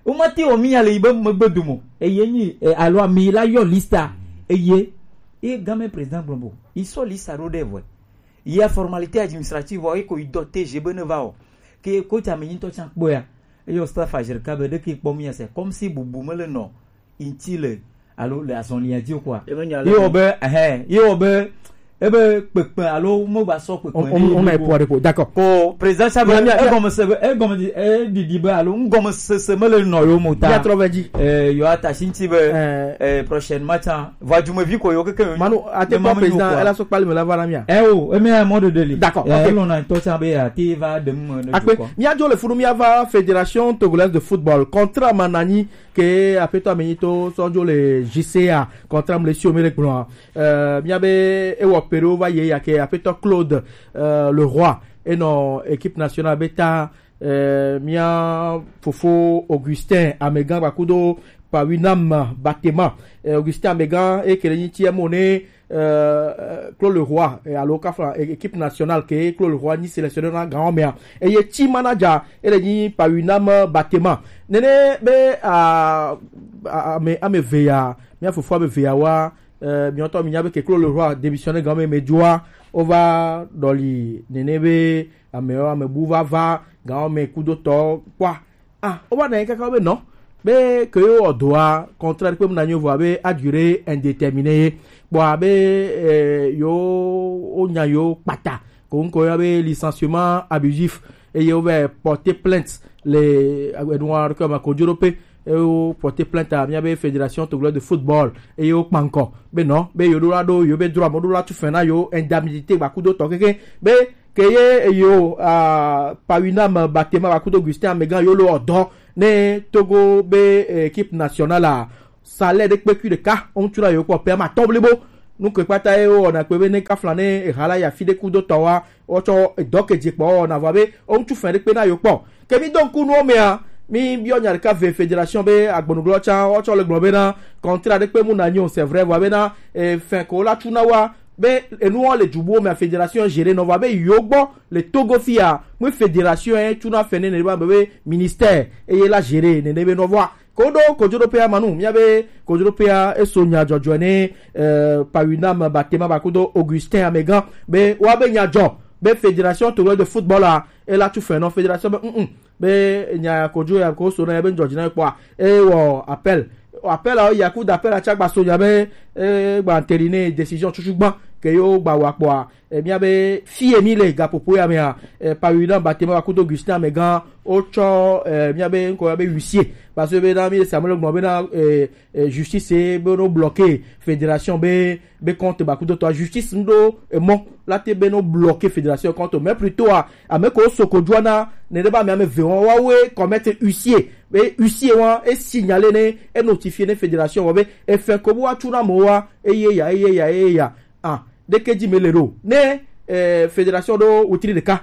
Wo ma te wɔ mi ya le yi be megbe dome. Eye nyi, eh, alo ami la yɔ lista. Eye, ye game président gblɔ bo. Yi sɔ lista ɖo ɖe vɔe. Yi ya formalité administrative vɔ, yi ko yi dɔ T G be ne va o. Ke coach ami ŋutɔ tsã kpɔe ya. Eyɔ staff Azerka be ɖeke kpɔ mi ya se. Comme si bubu me le nɔ. Ŋti le alo le azɔlia dzi o kɔa. Ye wɔ be, ɛhɛ, ye wɔ be, ebe kpekpe alo mo ba sɔ kpekpe. On, on, on a point de d'accord. Ko président sa be, egɔme se be, egɔme di, e didi be alo ŋgɔme sese me le nɔ yo mo ta. Quatre-vingt-dix. Eh, yo ata si ŋti be, eh, prochaine match a, va jumevi ko yo keke yo. Manu, ate pa président, ela so kpali me la va na mia. Eh o, eme a mɔ de deli. D'accord, ok. Lɔna ŋutɔ tsã be ate va de mu ne. Akpe, mia dzo le funu mia va Fédération Togolaise de Football. Contrat ma nanyi ke aƒetɔ ame nyitɔ sɔ dzo le J C A contrat mle si o mi le gblɔa. Euh, mia be ewɔ pe ɖewo va yi ya ke aƒetɔ Claude, euh, Leroy enɔ équipe nationale be ta, euh, mia fofo Augustin Amegan gbakudo Pawinam Batema. Euh, Augustin Amegan e kele nyi ti emo ne euh, Claude Leroy, eh, alo kafa, eh, équipe nationale ke Claude Leroy nyi sélectionneur na gan mea. Eye team manager, ele nyi Pawinam Batema. Nene be, ah, ah, ame, ame ve ya, mia fofo ame ve ya wa, eh, mi ŋutɔ mi nya be ke Claude Leroy démissionné gan me me dzoa, o va dɔli nene be ame, ame bu va va gan me kudo tɔ kpɔa. Ah, o va na yi kaka be nɔ. Be ke yo wɔ doa, contrat kpe mu na nyo vɔ be a durée indéterminée ye. Bon, abe, eh, yo, o nya yo kpata. Ko ŋkɔ ya be licenciement abusif. Eye wovɛ porter plainte le enuwa ɖokui me kojoɖoƒe. Eye wo porter plainte a mía be fédération togolaise de football. Eye wokpa ŋkɔ be non, be yewo ɖo la ɖo yewo be droit, ame ɖo la tu fin na yewo indemnité gbakudo tɔ keke be ke ye yewo, ah, Pawinam Batema gbakudo Augustin Amegan yewo lo ɔdɔ ne Togo be équipe nationale a salaire ɖe kpekui ɖeka, woŋutsu na yewo kpɔ pɛ ama atɔ̃ blibo. Nu ke kpata ye wowɔna kpe be ne kafla ne eha la ya fi ɖe kudo tɔ wa, wotsɔ edɔ ke dze kpɔ wɔna vɔ be woŋutsu fɛn ɖe kpe na yewo kpɔ. Ke mi do ŋku nuwo mea, mi biɔ nya ɖeka ve fédération be agbɔnugblɔ tsã wotsɔ le gblɔ be na contrat ɖe kpe mu na nyo, c'est vrai, vɔ be na, eh, fɛn ko la tsu na wa be enuwo le dubuwo mea fédération gérer nɔ vɔ be yewo gbɔ le Togo fia, mu fédération ye tsu na fɛn ne ne be be ministère eye la gérer ne ne be nɔ vɔa. Koɖo kojoɖoƒea manu, mía be kojoɖoƒea eso nya dzɔdzɔe ne, eh, Pawinam Batema gbakudo Augustin Amegan be woa be nya dzɔ be fédération togolaise de football a ela tu fin nɔ fédération be mm be nya kojo ya ko so na ya be dzɔdzi na kpɔa e wɔ appel. Appel a ya ku da appel a tsa gba so nya be e gba entériner décision tutu gba ke yo gba wa kpɔa. Eh, mía be fie mi le gaƒoƒo ya mea, eh, Pawinam Batema gbakudo Augustin Amegan wotsɔ, eh, mía be ŋkɔ ya be huissier, parce que be na mi Samuel gblɔ be na, eh, eh, justice be no bloquer fédération be be compte gbakudo tɔ justice ŋɖo emɔ la te be no bloquer fédération compte, mais plutôt a ame ko so ko dua na ne de ba mi ame ve wa wa we commettre huissier be huissier wa e signalé ne e notifié ne fédération wa be e fait ko bo wa tu na mo wa eye ya eye ya eye ya. Ah, ɖeke dzi mele ɖo. Ne, eh, fédération ɖo wetri ɖeka,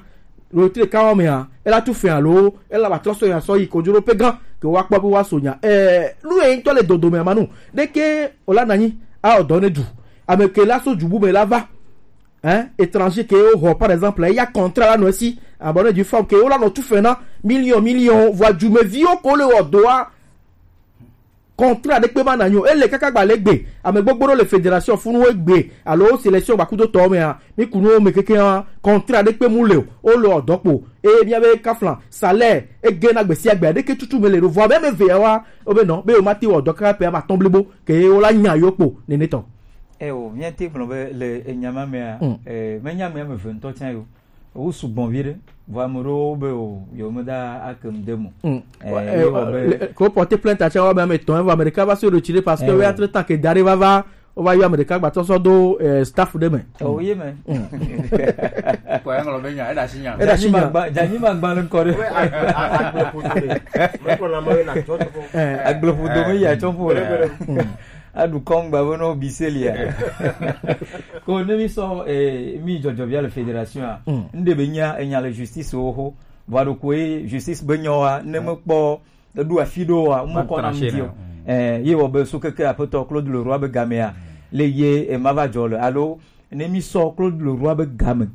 wetri ɖeka wa mea, ela tu fɛn alo ela ba trɔ so ya sɔ yi kojoɖoƒe gã ke wa kpɔ be wa so nya. Eh, nu ye ŋutɔ le dodo me manu. Ɖeke o la nanyi a o dɔ ne du. Ame ke la so dubu me la va. Hein, étranger ke o ho, par exemple, ya contrat la no si. Abonné du femme ke o la no tu fɛn na million, million, voire du me vi o ko le o doa. Contrat ɖe kpe ma na nyo. Ele kaka gba le gbe. Ame gbogbo ɖo le fédération funu egbe. Alo sélection gbakudo tɔ mea. Mi kunu wo me keke wa. Contrat ɖe kpe mu le o. O le o dɔkpo. E mía be kafla. Salaire. E ge na gbesi agbe. Ɖeke tutu me le ɖo. Vɔ be me ve wa. O be non. Be o ma ti wɔ dɔ kaka pe ama tɔn blibo. Ke o la nya yo kpo. Nene tɔ. Eh, o, mía te gblɔ be le enyama mea. Mm. Eh, me nya mea me ve ŋutɔ tsã yo. Wo sugbɔ vi ɖe. Vɔ ame ɖewo be o, yewo meda ake nu de mo. Mm. Eh, eh, ye wɔ be le- ko porter plainte atsɛ wa be ame etɔ̃ evɔ ame ɖeka va se ɖo tsi ɖe parce que eh, wo ya tre tan ke da ɖe va va, wo va yɔ ame ɖeka gbatɔ sɔ do, eh, staff ɖe me. Oh, ye me. Kɔ ya ŋlɔ be nya, eɖa si nya. Eɖa si nya. Janyi ma gba, janyi ma gba le ŋkɔ ɖe. Agble ƒodo ɖe. Mekpɔ na me na tsɔ tsɔ. Eh. Agble ƒodo me ya tsɔ ƒo le. Mm. Aɖu kɔŋgba be nɔ bi se lia. Ko ne mi sɔ, eh, mi dzɔdzɔ via le fédération a. Mm. Nde be nya enya le justice wo ho. Vɔ ɖo ko ye justice be nyɔ wa ne me kpɔ eɖo afi ɖo wa mo kɔ na mi dio. Eh, ye wɔ be so keke aƒetɔ Claude Leroy be gamea le ye e ma va dzɔ le alo ne mi sɔ Claude Leroy be game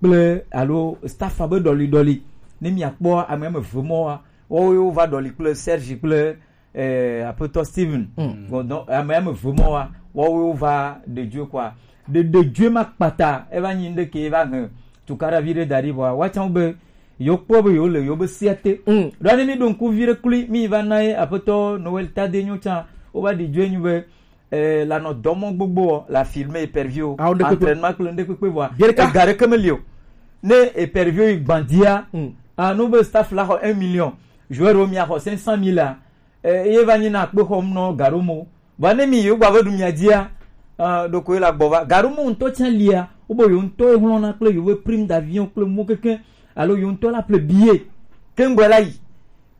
kple alo staff be ɖɔli ɖɔli ne mi akpɔ ame me ve mɔ wa wo yo va ɖɔli kple Serge kple eh, aƒetɔ Steven. Mm. Bon, donc, ame ame ve mɔ wa, woawo va ɖe dzoe kɔa. Ɖe ɖe dzoe ma kpata, eva nyi ɖe ke eva he tukaɖa vi ɖe da ɖi vɔa, woatsã be yewo kpɔ be yewo le yewo be sia te. Mm. Ɖo ne mi ɖo ŋku vi ɖe kloe, mi va na ye aƒetɔ Noël Tade nyo tsã, wova ɖi dzoe nyi be eh, la nɔ dɔmɔ gbogbo la filme épervier. Entraînement kple ŋɖe kpekpe vɔa. Ega ɖeke meli o. Ne épervier yi gbandia, mm, anu be staff la xɔ un million, joueur wo mia xɔ cinq cent mille a, eh, ye va nyi na akpe xɔm nɔ gaɖomo. Vɔ ne mi yewo gba ve ɖu mia dzia, ah, ɖoko ye la gbɔ va. Gaɖomo ŋutɔ tsã lia, wo be yewo ŋutɔ ye hlɔna kple yewo be prime d'avion kple mo keke, alo yewo ŋutɔ la ple billet. Ke ŋgbɔ la yi.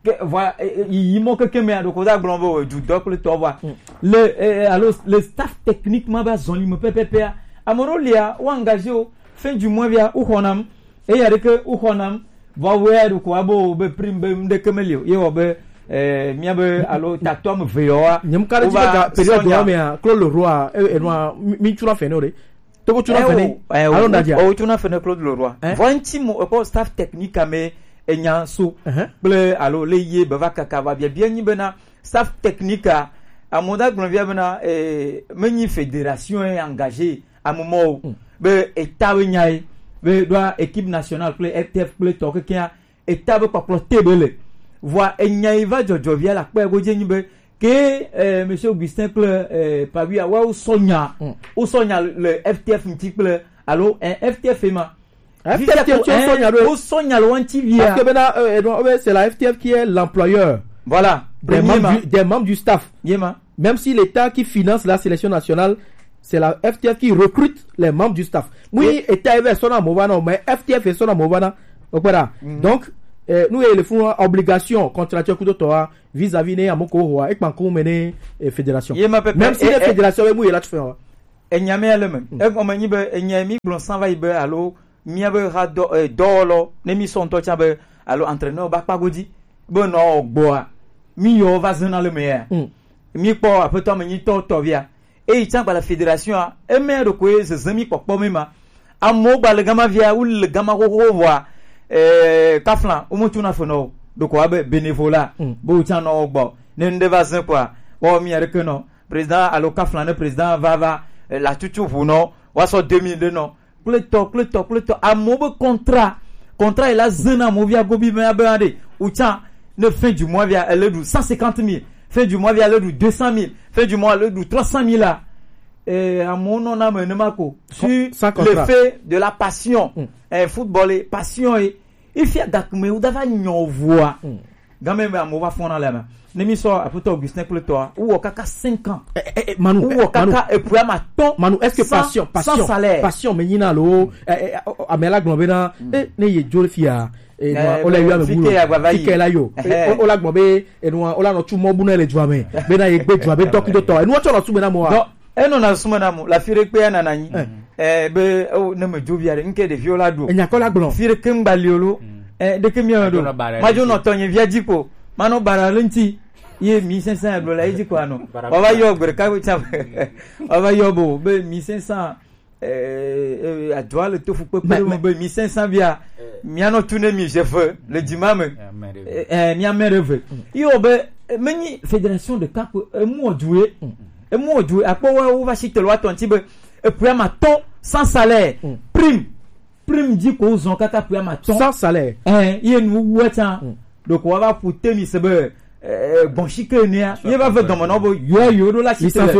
Ke vɔa, e, e, yiyi mɔ keke mea, ɖoko da gblɔ be o, du dɔ kple tɔ vɔa. Mm. Le, e, e, alo le staff technique ma va zɔli me pɛpɛpɛa. Ame ɖewo lia, wo engagé o, fin du mois via, wo xɔna m. Eya ɖeke wo xɔna m. Vɔ wea ɖoko abo be prime be ŋɖeke meli o. Ye wɔ be, eh, mía be alo tatɔ ame ve yɔ wa. Nyem ka ɖe dzi be ga période wa mea, Claude Leroy, e, e, nua, mi, mi tsura fɛn o ɖe. Togo tsuna fene. Alo nadia. O tsuna fene Claude Leroy. Eh? Vɔ ŋti mo ekpɔ staff technique ame enya so. Uh-huh. Kple alo le ye be va kaka va bia bia nyi bena staff technique a amoda gblɔ bia bena, eh, menyi fédération est engagée amemɔ o. Mm. Be eta be nya ye be ɖoa équipe nationale kple F T F kple tɔ kekea eta be kpakplɔ te be le. Vɔa enya yi va dzɔdzɔ via la kpɛ godzi nyi be ke, eh, Monsieur Augustin kple, eh, Pawia wa wo sɔ nya, mm, wo sɔ nya le F T F ŋti kple alo, eh, F T F ma. F T F qui est, hein, au Sonia, au Sonia, loin de Tivia. Parce que maintenant, euh, euh, c'est la F T F qui est l'employeur, voilà, des membres du, des membres du staff. Yema. Même si l'État qui finance la sélection nationale, c'est la F T F qui recrute les membres du staff. Oui, État est son amour, non, mais F T F est son amour, non. Donc, voilà. Donc, euh, nous, il faut une obligation contractuelle que tu as vis-à-vis de Amoko, et Pankou, et fédération. Même si les fédérations, oui, là, tu fais. Enya me ale me. Egɔme nyi be enya mi gblɔ san va yi be alo mía be ha dɔ eh, dɔwɔlɔ ne mi sɔ ŋutɔ tsã be alo entraîneur ba kpa godzi be nɔ gbɔa mi yɔ va zena le me ya. Mi kpɔ aƒetɔ me nyitɔ tɔvia. Eyi tsã gba le fédération a eme ɖokoe zezem mi kpɔkpɔ mi ma. Amewo gba le gama via wo le gama xoxo vɔa eh kafla wo mo tuna fe nɔ ɖoko abe bénévolat be wo tsã nɔ gbɔ ne ŋɖe va zẽ kɔa wɔ mi aɖeke nɔ président alo kafla ne président va va eh, la tutu ʋu nɔ wa sɔ deux mille de nɔ kple tɔ kple tɔ kple tɔ amewo be contrat contrat yi la zena mo via gobi me abe aɖe wotsa ne fin du mois via ele ɖu cent cinquante mille, fin du mois via ele ɖu deux cent mille, fin du mois ele ɖu trois cent mille la eh, amewo nɔna me nenema ko sur l'effet de la passion eh, football ye passion ye ifia gakme wo dava nyɔ voa game me amewo va fɔna le me ne mi sɔ aƒetɔ Augustin kple tɔa wowɔ kaka cinq ans. Eh, eh, eh, Manu, wowɔ kaka epuya ma tɔn. Manu, est-ce que sans, passion, passion, sans salaire. Passion me nyina lo eh, eh, oh, oh, ame la gblɔ bena eh, ne ye dzo le fia eh, nua, o la yɔ ame bu lo fike la yo eh, o la gblɔ be eh, nua, o la nɔ tu mɔ bu na le dua me bena ye gbe dua be dɔkudɔtɔ eh, nua tsɔ nɔ su me na mɔ wa. Enɔna susu me na mo le afi ɖe kpea nana anyi eh, be oh, ne medzo via ɖe ŋke ɖeviwo la ɖo. Enyakɔ la gblɔ. Fi ɖeke ŋgba li o lo eh, ɖeke mia me ɖo. Madzo nɔ tɔnye via dzi ko manɔ bara le ŋti ye mi sɛnsɛn agblɔ la ye dzi ko anɔ wava yɔ gbe ɖeka tsã wava yɔ bo be mi sɛnsɛn eh, eh, adua le to fukpekpe ɖe me be mi sɛnsɛn via mianɔ tu ne mi ze ve le dzima me eh, eh, mia mɛ ɖe ve. Yi wɔ be eh, menyi fédération ɖeka ko emu wɔ du ye. Emu wɔ du akpɔ wa wo va si telo atɔ ŋti be epuya ma tɔn sans salaire prime prime dzi ko zɔn kaka puya ma tɔn sans salaire eh ye nu wu etsa ɖoko wa va ƒu te mi se be eh gbɔn si ke nea ye va ve dɔme na wo be yo yo ɖo la si tele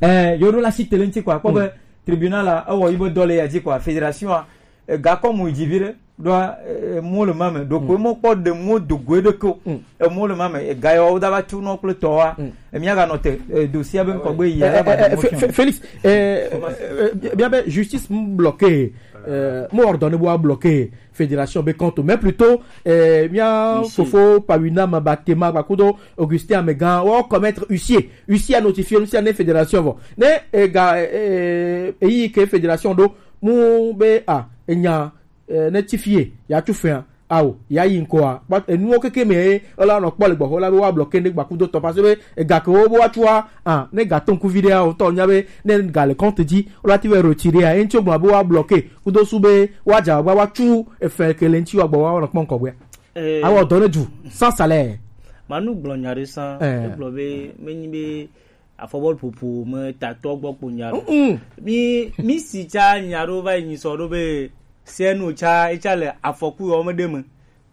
eh yo ɖo la si tele ŋti ko akpɔ be tribunal la ewɔ yi be dɔ le ya dzi ko fédération a ega kɔ mu dzi vi ɖe ɖoa eh, mo le ma me ɖoko mo kpɔ ɖe mo dogoe ɖeke o eh, mo le ma me ega yɔ wo da va tu nɔ kple tɔ wa eh, mia ga nɔ te eh, dosia be ŋkɔ gbe yi ala ba de mo Fé- Fé- Félix eh, eh, eh, bien ben justice m bloqué eh, mo ordonné bo bloqué fédération be compte mais plutôt eh, mia fofo Pawina Mabatema Bakudo Augustin Amegan wo commettre huissier huissier a notifié huissier ne fédération vo ne ega eh, eh, eyi ke fédération do mu be a enya eh, ne ti fie ya tu fɛa awo ya yi ŋkɔa kpɔ enuwo keke me ye ela nɔ kpɔ le gbɔxɔ la be wa blɔ kende gbakudo tɔ parce que ega ke wo be wa tua ah ne ga to ŋku vi ɖe awo tɔ nya be ne ga le compte dzi wo la ti be retirer ya enti wo gblɔ be wa blɔ ke kudo su be wa dza wa wa tu efɛ ke le enti wa gbɔ wa nɔ kpɔ ŋkɔ gbɛ. Eh, awɔ dɔ ne du sans salaire. Manu gblɔ nya ɖe san. Eh. Egblɔ be menyi be afɔbɔlu ƒoƒo me tatɔ gbɔ kpo nya ɖo. Mm-mm. Mi mi si tsa nya ɖo va yi nyi sɔ ɖo be C N O tsa etsa le afɔku yɔ me ɖe me.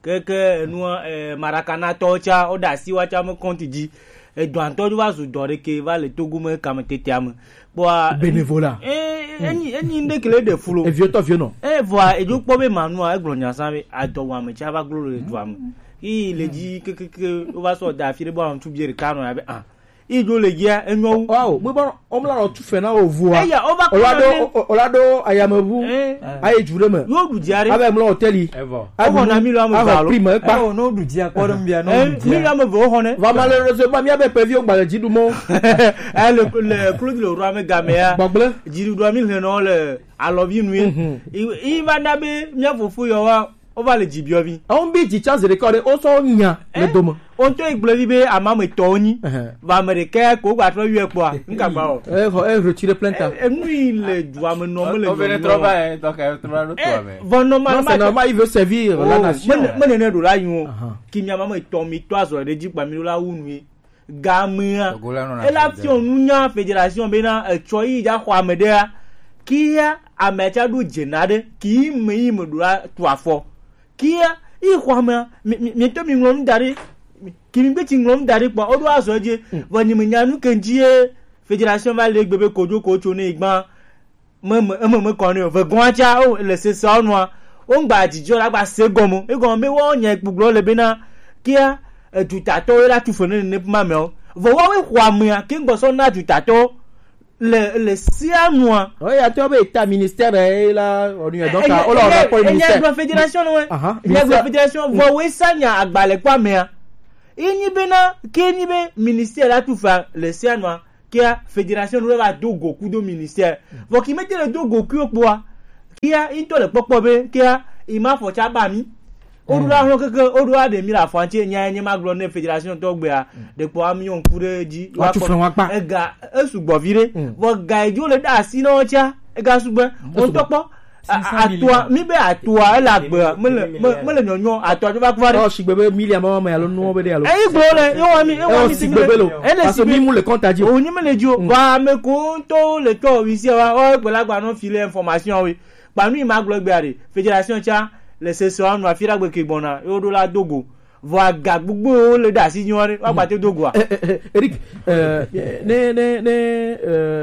Keke enua eh, Marakana tɔ tsa wo ɖe asi wa tsa me kɔnti dzi. Edɔ ŋutɔ dzo va zu dɔ ɖeke va le Togo me kame tetea me. Kpɔa bénévolat. Eh, enyi enyi ŋɖe ke le ɖe flo. Eviotɔ vionɔ. Eh, vɔa edzo kpɔ be manua egblɔ nya san be adɔwame tsa va glo le dua me. Yi le dzi kekeke wo va sɔ da afi ɖe bo ame tu bie ɖeka nɔ ya be ah. Idzo le dzia enyɔ wu. Wow, mo ba o mla lo tu fe na o vua. Eya o ba ko. Ola do ola do ayamebu. Aye jure me. Yo du dzia re. Abe mla hotel. Evo. Ago na mi lo ame ba lo. Prime pa. O no du dzia ko dem bia no du dzia. Mi lo ame vo ho ne. Va malheureusement mi abe pevi o gba le dzi du mo. Eh le le Claude le roi me game ya. Gbagble. Dzi du do mi le no le alovi nu ye. I va na be mi fofo yo wa. Wova le dzi biɔ vi. Àwọn bí dzi chance record o sɔ nya le dome. O ŋutɔ yi gblɔ vi be ame ame tɔ wonyi. Vɔ ame ɖeka ko gba trɔ yɔe kpɔa, n ka gba o. E xɔ e retire plenta. Enu yi le dua me nɔ me le nyɔnyɔ. Vɔ normal ma c'est normal, il veut servir la nation. Me ne ɖo la yi o. Ki mi ame ame tɔ mi tɔ azɔ ɖe dzi gba mi ɖo la wu nu ye. Gamea ela fiɔ nunya fédération bena etsɔ yi dza xɔ ame ɖea kia ame tsa ɖo dze na ɖe ki me yi me ɖo la tu afɔ kia yi xɔ amea mi mi mi to mi ŋlɔ nu da ɖe ki mi gbe tsi ŋlɔ nu da ɖe kpɔ o ɖo azɔ dzi vɔ nyi me nya nu ke dzi ye fédération va le gbe be kodzo ko tso ne gba me me eme me kɔ ne o ve gɔn tsa o le sese o nua Wo ŋgba didi o la gba se gɔme. Egɔme be wo nya kpugblɔ le bena kia edutatɔwo la tu fɔ ne ne ma mɛ o. Vɔ wa we xɔ amea ke ŋgbɔ sɔ na edutatɔwo le le sia nua. Oya tɔ be ta ministère e la onu ya donc o la ona ko ministère. Enya gblɔ fédération no. Aha. Enya gblɔ fédération vɔ we sa nya agbalɛ kwa mea. Enyi bena ke nyi be ministère la tu fa le sia nua. Kia fédération ɖo va do go kudo ministère. Vɔ ki mete le do go kudo kpoa. Kia into le kpɔkpɔ be kia ima fɔ tsa ba mi. O ɖo la hlɔ keke o ɖo a ɖe mi la fɔ tse nya nye ma gblɔ ne fédération tɔ gbea. De kpɔ ami yon ku ɖe dzi. Wa tu fɛn wa kpa. Ega esu gbɔ vi ɖe. Vɔ ga edzo le da asi na wo tsa. Ega su gbe. O tɔ kpɔ. Atoa mi be atoa ele agbe mele mele nyɔnyɔ atoa dzo va kuva ɖe. Ɔ sigbe be milia ma ma alo nuwo be ɖe alo. Eyi gblɔ le ye wa mi ye wa mi sigbe be lo. Ene sigbe mi mu le kɔnta dzi o. O nyi mele dzi o. Ba me ko ŋutɔ le tɔ wi sia wa o gbe la gba nɔ fi le information we. Ba nu ma gblɔ gbe are fédération tsa le sese wa nu afi ɖagbe ke gbɔna yo ɖo la dogo. Vɔ aga gbogbo le ɖe asi nyɔ ɖe wa gbate dogoa. Eric, ne ne ne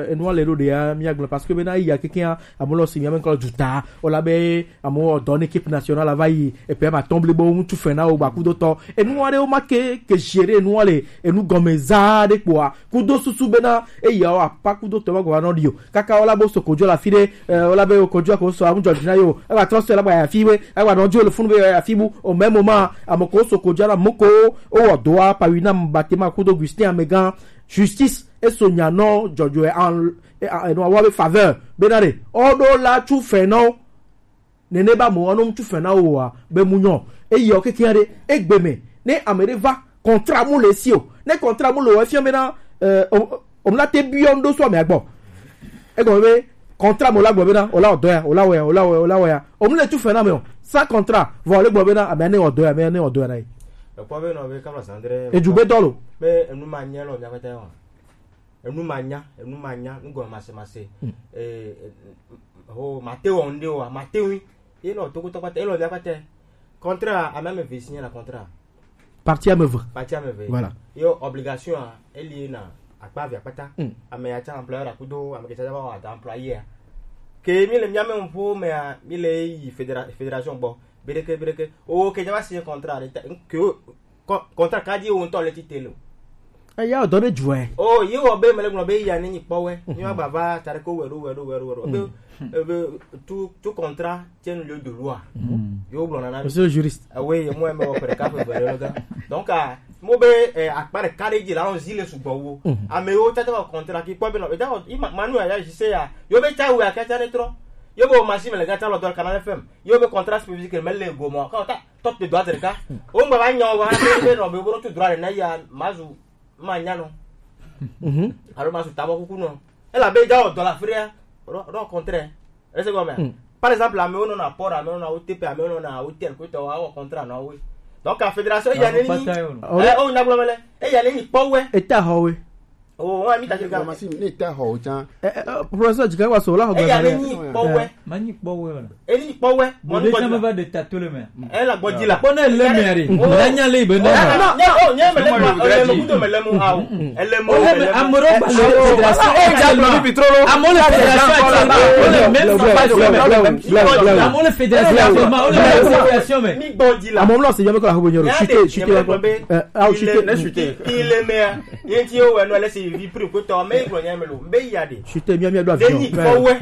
enua le ɖo ɖea mi agblɔ parce que be na iya kekea. Amewo le si miame ŋkɔ le duta. Wole be amewo dɔ ne équipe nationale va yi. Et puis ma tɔn blibo ŋutsu fɛn na wo gba kudo tɔ. Enu aɖewo ma ke ke gérer enua le enu gɔme zaa ɖe kpoa. Kudo susu bena eya wo apa kudo tɔ ma gba nɔ ɖi o. Kaka wole be sokojo la fi ɖe. Wole be sokojo ko so amu jɔdzi na yo. Eva trɔ so la ba ya fi we. Eva nɔ jo le funu be ya fi bu. Au même moment amoko sokojo la moko o wɔ doa pa wi na mbatema kudo Gustin Amegan. Justice eso nya nɔ jɔjɔe en enua wa be faveur bena ɖe ɔɖo la tu fɛn na wo. Nene ba mo ɔno tu fɛn na wo wa be mu nyɔ eyi ɔ keke ɖe egbe me ne ame ɖe va contrat mu le si o ne contrat mu le o efia bena eh, o- omla te biɔ ŋɖo so ame agbɔ egɔme be contrat mo la gbɔ bena o la ɔdɔ ya o la wɔ ya o la wɔ ya o la wɔ ya omla tu fɛn na me o sans contrat vɔ le gbɔ bena ame ne ɔdɔ ya ame ne ɔdɔ ya na yi. Ekpɔ be nɔ be kama sandre. Edu be dɔ lo. Be enu ma nye lɔ miakpata wa. Enu ma nya, enu ma nya, nu gɔme mase mase. Eh, eh, oh, mate wɔ ŋɖe wa, mate ŋui. Ye nɔ to kutɔ kpata, ye nɔ via kpata. Contrat, ame ame eve signé na contrat. Parti ame eve. Parti ame eve. Voilà. Yo obligation a, eli na akpa via kpata. Ame ya tsa employeur akudo, ame ke tsa va wa da employé a. Ke mi le miame ŋpo mea, mi le yi fédéra- fédération gbɔ. Bedeke, bedeke. O ke tsa va signé contrat de ta, ke o Kɔ- kɔntra kadi wo ŋutɔ le tite lo. Eya ɔdɔ ɖe dzuɛ. O ye wɔ be mele gblɔ be ya ne nyi kpɔwɛ mi wa gba va ta ɖe ko wɛ ɖo wɛ ɖo wɛ ɖo wɛ ɖo be ebe tu tu kɔntra tiɛ nu le do lua. Yo gblɔ nana. Monsieur le juriste. Ewe ye mo eme wɔ pere kafe vɛ ɖe ga. Donc a mo be eh, akpa ɖeka ɖe dzi la zi le sugbɔ wo. Ame wo tata wɔ kɔntra ki kpɔ be nɔ eta wɔ ima manu ya ya zi se ya yo be ta wo ya kata ne trɔ. Yo be o machine le gata lɔ dɔ kana le fem. Yo be contrat spécifique me le go mo ka ta. Top de droite ɖeka. Wo ŋgba va nya o va be be nɔ be wo tu droit na ya mazu ma nya nɔ. Alo mazu tabɔ kuku nɔ. Ela be ja o dɔ la fria. Ro ro contrat. Est-ce que comme par exemple amewo nɔ na port amewo nɔ na O T P amewo nɔ na hôtel ko tɔ wa o contrat na wo. Donc la fédération ya ne ni. Eh o na gblɔ mele. E ya ne ni pɔwɛ. Eta hɔwe. Oh, wa mi ta se ga. Machine ne ta ho jan. Eh, eh, eh, professeur Jika wa so la ho. E ya le ni po we. Ma ni po we wala. E ni po we. Mo de sama va de tato le me. E la gbɔ di la. Bon, elle le mairie. La nya le be na. Non, non, oh, nya me le mo, le mo kudo me le mo awo. E le mo. Amoro ba le. E ja lo bi trop lo. Amoro fédération. Amoro fédération. Amoro fédération mais. Mi gbɔ di la. Amoro lo se yo me ko la ho bo nyoro. Chuter, chuter. Ah, chuter. Il est maire. Ye ti yo wɛ nɔ lɛ si vi pri ko tɔ mɛ gblɔ nya mɛ lo mɛ ya de. Sute mia mia do avion. Zeni kɔ wɛ.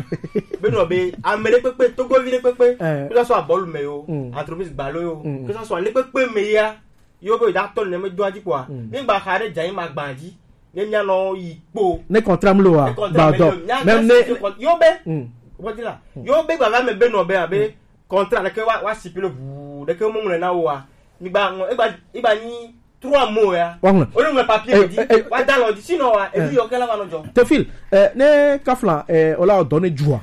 Be nɔ be ame ɖe kpekpe togovi ɖe kpekpe. Eh. Kó sɔ abɔlu mɛ yo. Entreprise gbalo yo. Kó sɔ ale kpekpe mɛ ya. Yo be da tɔ ne mɛ do adzi kpɔa. Ne gba xa ɖe dza yi ma gba dzi. Ne mia nɔ yi kpo. Ne contrat mlo wa. Gba dɔ. Même ne. Yo be. Wɔ ti la. Yo be gba va mɛ be nɔ be abe contrat ɖeke wa wa si pilo ʋuu ɖeke mo ŋlɔ na wo wa. Mi gba ŋlɔ egba egba nyi trois mots ya. Wa ŋlɔ. O le ŋlɔ papier mi di. Wa da lɔ di sinon wa ebi yɔ kɛla va nɔ jɔ. Tefil, eh, ne kafla eh, o la o dɔ ne jua.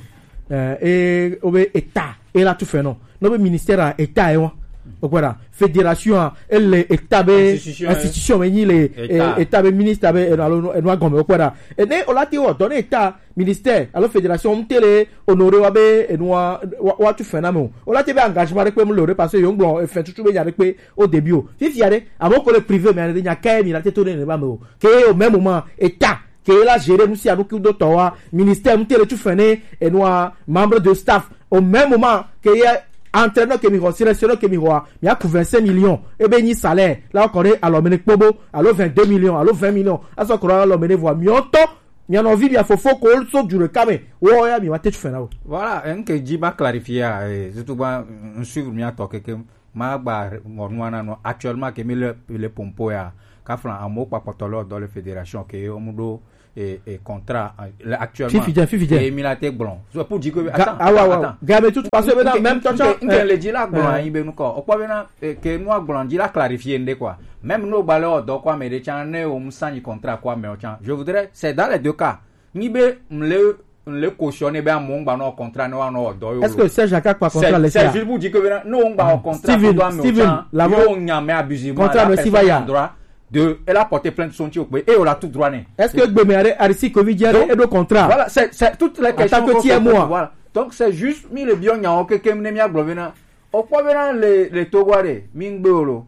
Eh, e o be eta e la tu fɛ nɔ. No be ministère a eta e wa. O kpɛ da fédération a e le eta be institution me nyi le eta be ministre be eno alo eno agɔme o kpɛ da. E ne o la ti o dɔ ne eta ministère alo fédération mu tele honoré wa be enua wa tu fɛn na me o. O la te be engagement ɖe kpe mu le o ɖe parce que yo ŋgblɔ efɛn tutu be nya ɖe kpe o début o. Fifia ɖe ame ko le privé me ane nya kɛ mi la te to ne ne ba me o. Ke au même moment eta ke la gérer nu sia nu ki do tɔ wa ministère mu tele tu fɛn ne enua membre de staff au même moment ke ye Entraîneur ke mi xɔ, sélectionneur ke mi xɔa, mi aku vingt-cinq millions, ebe nyi salaire, la kɔ ɖe alɔ mɛ ne kpobo, alo vingt-deux millions, alo vingt millions, asɔ kɔ ɖe alɔ mɛ ne vɔa, mi ɔtɔ, mi anɔvi, mi afofo ko so du ɖeka mɛ, wɔ ya mi ma te tu fɛn na o. Voilà, un ke dzi ma clarifier, eh, surtout ba, un suivre mi atɔ keke, ma gba mɔ nua na no, actuellement ke mi le, le pompo ya, ka flan amo kpakpɔtɔ le dɔ le fédération ke o mu ɖo e, e contrat, euh, actuellement. Fifi dze, fifi dze. Et mi la te gblɔ. So, pour dire que, attends, ah, ouais, ouais, attends. Gars, mais tout, parce que maintenant, même toi, tu as, nke le di la gblɔ anyi be nukɔ. O kpɔ be na, eh, ke nua gblɔ di la clarifier nde quoi. Même no gbalɛ o dɔ quoi, mais de chan ne o musanyi contrat quoi, mais o chan. Je voudrais, c'est dans les deux cas. Ni be mle, mle cautionner be amongba no contrat no no dɔ yo. Est-ce que Serge Akak pas contrat? C'est juste pour dire que maintenant, no ngba contrat. Steven, Steven, là-bas, yo nyame abusivement. Contrat no si va ya droit de, elle a porté plainte son tio et on a tout droit ne. Est-ce que Gbeme Arisi Covid a edo contrat? Voilà, c'est, c'est toutes les questions. Tant que tu es moi. Voilà. Donc c'est juste mi le bion nya o keke ne mi agblɔ be na. O kpɔ be na le, le Togo are, mi ngbe o lo.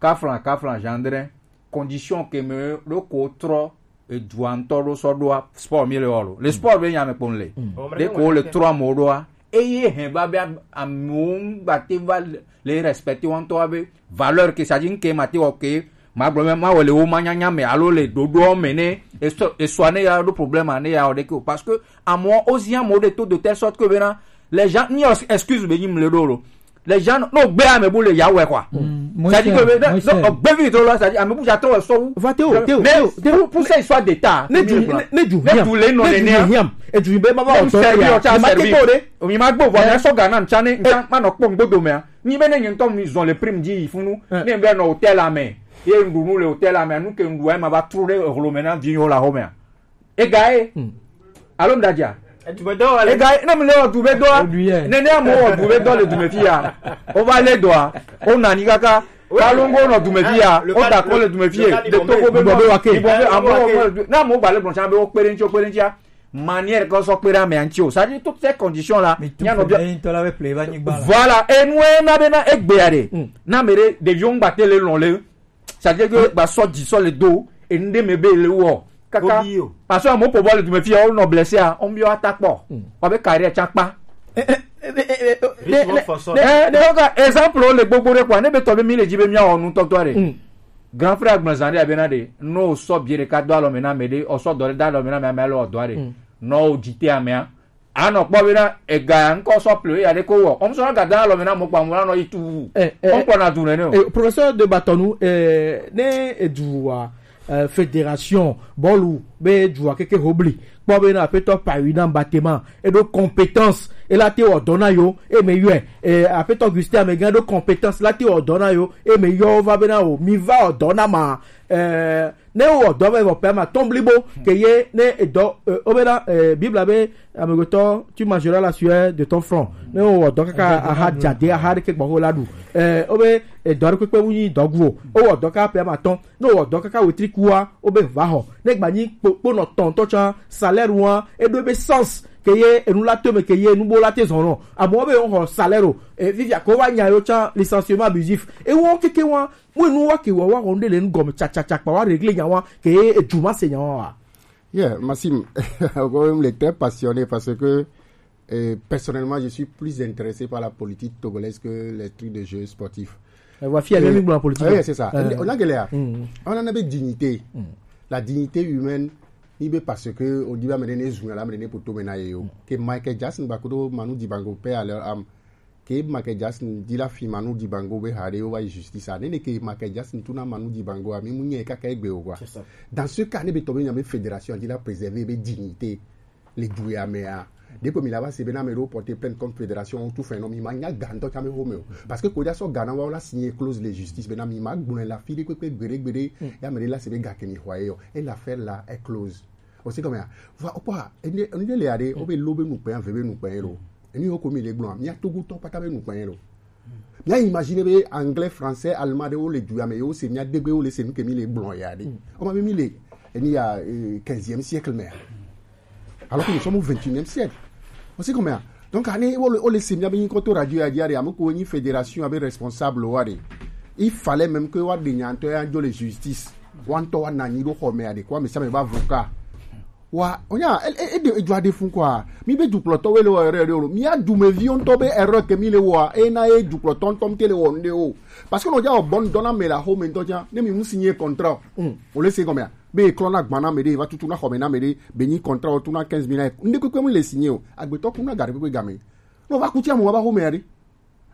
Kaflan, kaflan, gendre, condition ke me lo ko trɔ, e dua ŋutɔ ɖo sɔ ɖoa, sport mi le wɔ lo. Le sport be nya me kpɔn le. De ko le trɔ mo ɖoa, eye hɛn va be am-, amewo ŋgba te va le, le respecter wo ŋutɔ be valeur ke sa dzi ŋke ma te wɔ ke ma gblɔ be ma wɔ le wo ma nyanya me alo le ɖoɖoɔ me ne esɔ, esɔa ne ya ɖo problème ne ya wɔ ɖeke o. Parce que amewo, wozi amewo ɖe to de telle sorte que bena les gens ni excuse be nyi mle ɖo lo. Les gens, no gbe ame bu le ya wɛ quoi. C'est-à-dire que, non, gbe vi to lo, c'est-à-dire ame bu ja to wɛ sɔ wu. Va te o, te o, mais te o, te o, pour, pour ça, histoire d'état, ne du, ne du, ne du le non ne ne hiam. E du be ma va o to ya. Ma te ko de. Mi ma gbo vo na so Ghana nchane, nchane ma no kpɔ ŋgbodo me a. Ni be ne nyi ŋutɔ mi zɔn le prime dzi yi funu. Ne be nɔ hôtel la me. Ye ŋɖu nu le hôtel la me, nu ke ŋɖu ma va tru ɖe ehlo me na vi yo la home a. Ega ye. Alo ŋdadza. Ega ye, ne mi le wɔ du be dɔa. Ne ne amewo wɔ du be dɔ le du me fi ya. O va le dɔa. O na ni kaka. Kalongo nɔ du me fi ya. O da ko le du me fi ye. De to ko be bɔ be wa ke. Ibɔ be amewo wɔ du. Na amewo gba le gblɔ tsa be wo kpe ɖe ŋtsi, wo kpe ɖe ŋtsi a. Manière kɔ sɔ kpe ɖe ame ŋtsi o. C'est-à-dire toutes ces conditions là. Nya nɔ bia. Voilà. Enu na be na egbe ya de. Na me de ɖeviwo ŋgba te le lɔn le. C'est-à-dire que ba sɔ dzi sɔ le do, et nde me be le wɔ. Kaka. Parce que mo po bɔ le du me fi ya, o nɔ blessé a, o mi wa ta kpɔ. Wa be carrière tsa kpa. Donc exemple le gbogbo ɖe quoi, ne be tɔ be mi le dzi be mi wɔ nu tɔtɔ ɖe. Grand frère gblɔ zan ɖe abena ɖe, no sɔ bie ɖeka do alɔ me na me ɖe, o sɔ dɔ ɖe do alɔ me na me, ame alɔ dɔ ɖe. No o dzi te amea. Anɔ kpɔ be na ega ŋkɔ sɔ ple ya ɖe ko wɔ. Ɔm sɔ na gada alɔ me na mo kpa mo na nɔ yi tu. Ɔm kpɔ na du nene o. Eh, professeur de Batonu, eh, ne edu wa, eh, fédération bɔlu be edu wa keke hobli. Kpɔ be na apetɔ Paris na Batema. Edo compétence. Ela te wɔ dɔ na yo. E me yɔe. Eh, apetɔ Augustin Amegan do compétence. La te wɔ dɔ na yo. E me yɔ va be na o. Mi va wɔ dɔ na ma. Eh, ne wowɔ dɔ vɛ vɔ pɛ ma tɔn blibo ke ye ne edɔ, eh, wobe na, eh, Biblia be, amegbetɔ, tu mangeras la sueur de ton front. Ne wowɔ dɔ kaka aha dzade aha ɖe ke gbɔ ho la ɖu. Eh, wobe edɔ ɖe kpekpe wu nyi dɔ gu o. Wowɔ dɔ kaka pɛ ma tɔn. Ne wowɔ dɔ kaka wetri kua, wobe va xɔ. Ne gba nyi kpo, kponɔ tɔn tɔ tsã, salaire wa, eɖo ebe sens ke ye enu la to me ke ye enu bo la te zɔn nɔ. Amewo be wo xɔ salaire o. E, fifia ko wa nya yo tsã licenciement abusif. E wo keke wa, Mu enu wa ke wa wa wɔnu ɖe le nu gɔme tsatsatsa kpa wa régler nya wa ke edu ma se nya wa wa. Yeah, Maxime, encore le très passionné parce que, euh, personnellement, je suis plus intéressé par la politique togolaise que les trucs de jeux sportifs. E wa fia mi gblɔ politique. Oui, c'est ça. On a galère. On en avait dignité. La dignité humaine, ni be parce que on dit ba me ne zu la me ne poto me na yo. Que Michael Jackson ba ko Manu Dibango paix à leur âme. Ke Michael Jackson di la fi Manu Dibango be ha ɖe wo va yi justice a. Ne ne ke Michael Jackson tu na Manu Dibango a, mi mu nye kaka egbe o quoi. C'est ça. Dans ce cas, ne be tɔ be nya be fédération di la préserver be dignité le du ya me a. Depuis mi la va se be na me do porter plainte contre fédération, tout fait non, mi ma nya ga ŋutɔ tsã me ho me o. Parce que ko ja sɔ ga na wa la signer clause le justice be na mi ma gbɔn la fi de kpekpe gbede gbede. Ya me de la se be ga ke mi hwa yo. Et l'affaire là est close. O si kɔmɛ a. Va o kpɔ a. Ene ene le ya de o be lo be nukpɛ ya ve be nukpɛ ye lo. Eni yo ko mi le gblɔ a. Mi a Togo tɔ kpata be nukpɛ ye lo. Mi a imaginer be anglais, français, allemand de wo le du ya me yo se mi a degbe wo le se nu ke mi le gblɔ ya de. O ma be mi le eni ya, euh, quinzième siècle me a. Alors que nous sommes au vingt et unième siècle. O si kɔmɛ a. Donc ani wo le, wo le se mi a be nyi kɔ to radio ya di ya de, ame ko nyi fédération a be responsable wa de. Il fallait même que wa de nya ŋutɔ ya jo le justice. Wa ŋutɔ wa na nyi do xɔ me ya de ko ame sia ame be avocat. Wa, onya, e, e, e, de, e, dua de fun quoi. Mi be dukplɔtɔ we le wɔ erreur de o. Mi a dumevi ŋutɔ be erreur ke mi le wɔ, e na e dukplɔtɔ ŋutɔ mi te le wɔ nde o. Parce que no ja o bon dona me la home ŋutɔ ja, ne mi mu signer contrat. Mm. O le se comme ya. Be klɔ na gbana me de, va tutu na home na me de, be ni contrat o tu na quinze mille. Nde kwe kwe mu le signer o. Agbetɔ ku na gari kwe kwe game. No va ku ti amu va home ya de.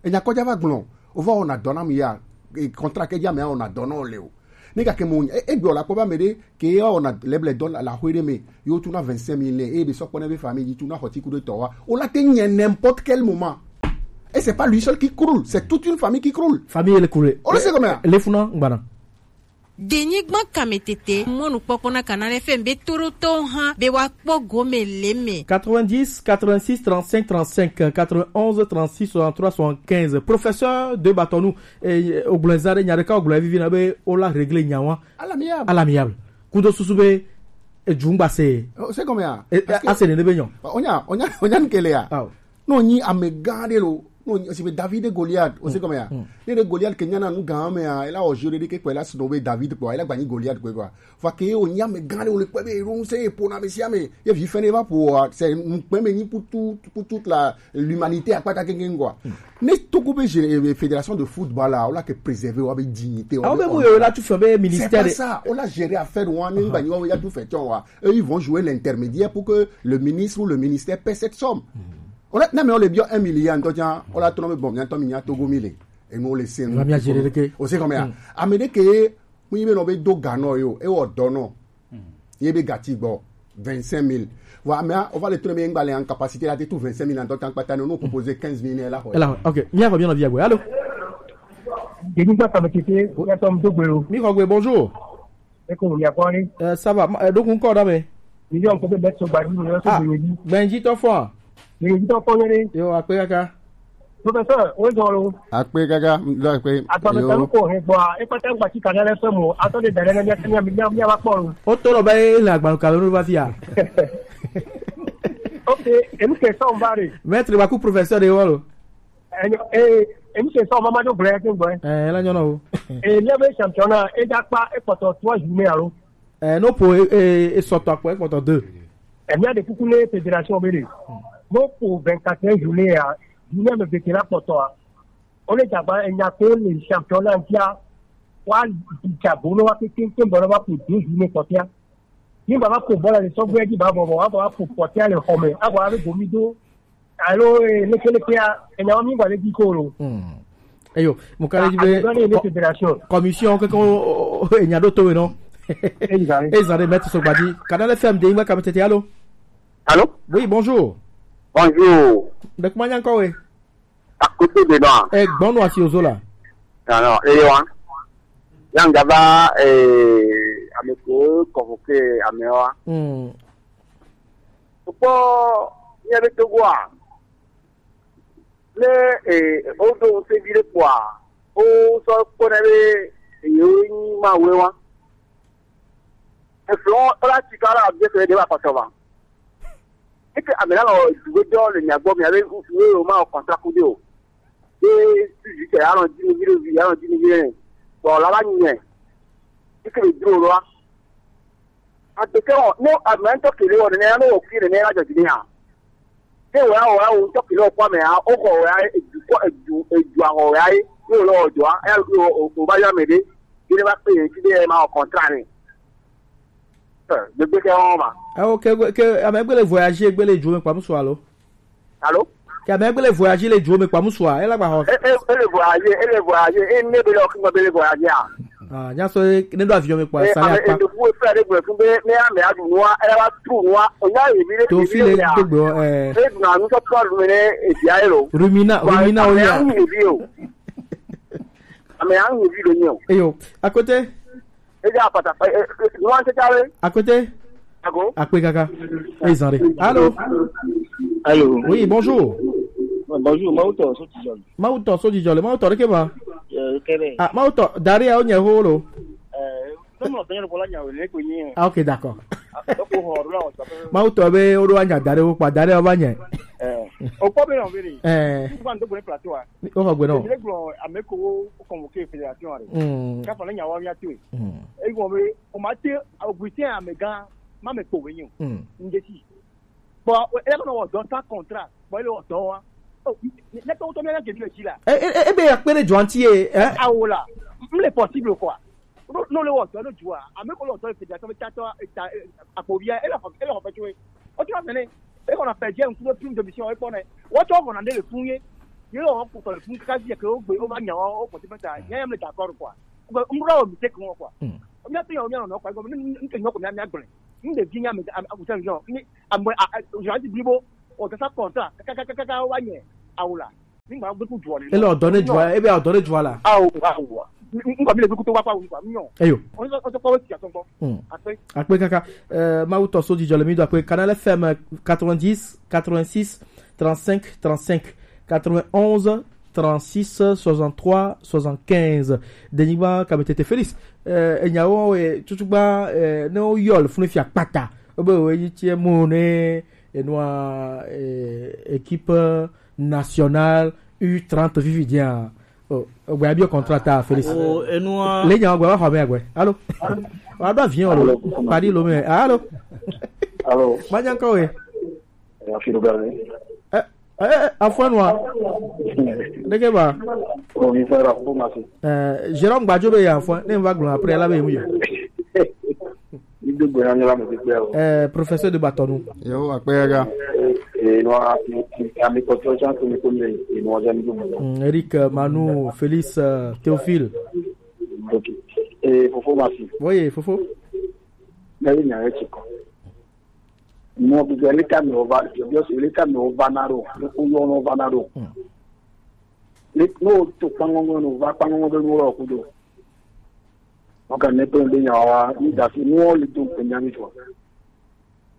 Enya kɔdza va gblɔ, o va wɔna dɔ na mi ya, e, contrat ke dza me wɔna dɔ na o le o. Ne gake mo, e, e gbe o la kpɔ ba me ɖe, ke ya wɔna lɛblɛ dɔ la, la xwe ɖe me, yo tu na vingt-cinq mille ne, e be sɔ kpɔ ne be famille yi tu na xɔ ti ku ɖe tɔ wa. O la te nyɛ n'importe quel moment. Et c'est pas lui seul qui croule, c'est toute une famille qui croule. Famille le croule. O le se comme ya. Le funa ngbana. Denyigba kametete, mɔnukpɔkpɔ na Canal F M be toɖotɔwo hã be woakpɔ gome le eme. Quatre-vingt-dix, quatre-vingt-six, trente-cinq, trente-cinq, quatre-vingt-onze, trente-six, soixante-trois, soixante-quinze. Professeur de Batonu, eh, ogblɔza ɖe nya ɖeka ogblɔ vivi na be wola régler nya wa. À l'amiable. À l'amiable. Kudo susu be, eh, edzungba se. Oh, c'est comme ya. Eh, parce que ase nene be nyɔ. Onya, onya, onya nkele ya. Awo. No nyi amegã ɖe lo. No nyi, si be David et Goliath, o se comme ya. Mm. Ne ɖe Goliath ke nyana nu gã me ya, ela o jeu ɖe ke kpe la sino be David kpe, ela gba nyi Goliath kpe quoi. Fa ke o nyi amegã ɖe o le kpe be ro se po na me sia me. Ye vi fene va po, c'est un kpe me nyi pour tout, pour toute la, l'humanité akpata kenken quoi. Mm. Ne Togo be gé-, eh, fédération de football la, o la ke préserver wa be dignité wa. Ah, be be mu yo la tu fɛ be ministère. C'est pas ça. O la gérer affaire wa, ne ba nyi wa ya tu fɛ tiɔn wa. Eux, ils vont jouer l'intermédiaire pour que le ministre ou le ministère paie cette somme. Mm. O la, na me o le biɔ un milliard ŋutɔ tsã, o la tɔnɔ be bon, mia tɔ mi nya Togo mi le. Enu o le se nu. Mia jere ɖeke. O se kɔmea. Mm. Ame ɖe ke, mu yi be nɔ be do ga nɔ yo, e wɔ dɔ nɔ. Mm. Ye be gati gbɔ, vingt-cinq mille. Vɔ amea, o va le tɔnɔ be ŋgba le en capacité la te tu vingt-cinq mille ŋutɔ tsã kpata ne, no proposer quinze mille ne la xɔ. Ela, ok. Mia xɔ mia nɔ via gbe. Allô? Denyigba kametete, ya tɔ mi do gbe o. Mi xɔ gbe, bonjour. Eko, mia kɔ ni. Euh, ça va. Ma-, euh, donc, encore, dame. Mi yɔ ko be bɛ so gba ni, mi yɔ so gbe ni. Benji to fo. Benji to fo ni. Yo, akpe kaka. Professeur, o zɔ lo. Akpe kaka, do akpe. Agba me ta ko he gba, e pata ngba ti kana le fɛ mo, ato de dare na mi, mi, mi, mi, mi, wa kpɔ lo. O to lo ba e la agba ka lo ba fia. Ok, e nu ke so mbare. Maître ba ku professeur de wo lo. Enyo, eh, emission sɔ mama do gblẽ ke gblẽ. Eh, la nyɔna o. Eh, le be championnat, e da kpa e kpɔtɔ trois journées alo. Eh, no po, eh, eh, e sɔtɔ akpɔ e kpɔtɔ deux. Eh, mia de kuku ne fédération be de. Mo po vingt-quatre journées ya, journée me veke la kpɔtɔ a. O le dagba e nya ko le championnat ntia. Wa dza bo no wa ke ke ke bo no wa po deux journées kpɔtɔ ya. Ni baba ko bɔla le sɔgbɛ di ba bɔbɔ, wa baba ko pɔtɛ le xɔme, a bɔ a be gomi do. Alo, eh, leke leke ya, enya wa mi gba le di ko lo. Hmm. Eyo, mo ka le di be. A, a, a, a, a, commission, ke ko, o, o, o, enya do to we no. Exactly. Exactly, maître Sogbadi. Canal F M de ngba kametete, allô? Allô? Oui, bonjour. Bonjour. De kuma nya ko we? Akutu de no. Eh, gbɔnu asi ozo la. Non, non, eye wa. Yanga ba, eh, ame ko convoqué ame wa. Hmm. Kpɔ, mía be Togoa. Ne, eh, o do se bi de kpɔa, o sɔ kpɔ na be, eh, o nyi ma we wa. Eflɔ, o la ti ka la bi se de ba kɔtɔ ba. Eke ame la nɔ dugbe dɔ le mia gbɔ, mia be ŋutsu ye o ma wɔ contrat ku de o. Ye suzu tɛ, alɔ dzi mi vi ɖe vi, alɔ dzi mi vi ɖe. Bɔn la va nyi nɛ. Eke be dro lo wa. Agbeke wɔ, no ame ŋutɔ kele wɔ nene ya, no wɔ kui nene ya la dzɔ dzi ne ya. Ke wɔ ya wɔ ya wɔ ŋutɔ kele wɔ kɔ ame ya, o xɔ wɔ ya, edu kɔ, edu, edu ahɔ wɔ ya ye, ye wɔ lɔ wɔ dɔ wa, ya o, o, o ba yɔ ame ɖe, ye ne va kpe ye ŋuti be ma wɔ contrat ne. Eh, gbegbe ke wɔn ma. Eh, ok, ke, ke, ame gbe le voyager, gbe le dro me kpa musu alo? Alo? Ke ame gbe le voyager le dro me kpa musu a, ela gba ho. E, e, e le voyager, e le voyager, e ne be le o kingo be le voyager a. Ah, nya so e, ne do avion me kpa, eh, sa ya ame kpa. E do ku e fẹ́ de gbe fún be, ne ame a du nua, e wa tu nua, o nya ye bi le. To fi le ya. Gbegbe o, eh. E du na nu so to du me ne, e bi a ye lo. Rumina, wa, rumina o ya. Ame a ye bi o. Ame a ye bi lo nyo. Eyo, à côté. Eja apata, eh, eh, eh, nuwan te jare. Akwete. Ago. Akpe kaka. Ezan re. Allô? Allô? Oui, bonjour. Bonjour, Mawutɔ, so ti jɔli. Mawutɔ, so ti jɔli. Mawutɔ, de ke ma? Euh, kɛlɛ. Ah, Mawutɔ, dari ya o nye ho lo. Euh, non, non, bɛn ko la nya o, ne ko nyi. Ah, ok, d'accord. Ah, donc, o ho, la, o, ça peut. Mawutɔ be, o do anya dari o pa, dari o ba nye. Euh, o ko be, non, be. Euh. Ko an to plateau, ah. O xɔ gbe nɔ. Emi le gblɔ ame ko wo convoqué fédération a ɖe. Mm. Kafa le nya wa mía to. Mm. Eye gblɔ be o ma te Augustin amegã ma me kpo we nyo. Mm. Nje si. Bon, e ko no do sans contrat. Bon, le do wa. Oh, ne to to me na ke bi ji la. E e e be ya pere juanti e, eh? Awola. M le possible quoi. No no le wa do no ju a. A me ko le do fédération ta to ta akpo bi e la e la fa tu. O ti wa sene. E ko na pe je un coup de prime de mission e ko ne. Wo to ko na de le fun ye. Ye o ko to le fun ka ji ke o gbe o ba nya o ko ti pe ta. Ye me d'accord quoi. Ko n bro mi te ko quoi. O mi a pe o mi a no kwa ko mi n ke no ko mi a mi a gbe. N de bi nya me a ko ta yo. Ni a mo a je di bi bo. O ta sa contrat. Ka ka ka ka wa nye. Awola. Nígbà gbé kú jù ọ nínú. Ele ọdọ ne jù ala, ebe ọdọ ne jù ala. Awo awo. N kò mi lè fi kú tó wá pa òun kò mi yàn. Eyo. Wọ́n sọ pé wọ́n ti àtọ́ gbọ́. Hmm. Àpé. Àpé kaka. Euh, ma wutɔ so jijɔ le mi do àpé Canal F M quatre-vingt-dix, quatre-vingt-six, trente-cinq, trente-cinq, quatre-vingt-onze, trente-six, soixante-trois, soixante-quinze. Denyigba kametete Félix. Euh, enyawo e tutu gba euh, ne o yɔ le funu fia kpata. O be o yi tie mo ne enua euh, équipe national U trente vivi dia. Oh, ogbe abio contrat ta Félix. Oh, enua. Le nya ogbe wa ho me agbe. Allô. Wa do avion lo. Padi lo me. Allô. Allô. Ma nya ko we. Ya fi lo ga ni. Eh eh eh afwan wa. Deke ba. Oh, mi fera ko ma se. Eh, Jérôme Gbadjo be ya afwan. Ne va glo après la be mu yo. Idogbe na nyala mo ti pe o. Eh, professeur de Batonu. Yo, akpega. Eh, no a ti ami ko to chan ko mi ko mi e no ja mi do mo. Mm, Eric, euh, Manu, Félix, euh, Théophile. Ok. Eh, Fofo Masi. Oui, Fofo. Na ni na e chiko. Mo bi le ka mi o va, bi o le ka mi o va na ro. Ko yo no va na ro. Mm. Ni no to pangongo no va pangongo do no ro ku do. Wọn kàn ní pé ń gbé yàn wá ní ìdásí ní wọn lè tó ń pè ní àmì ìjọba.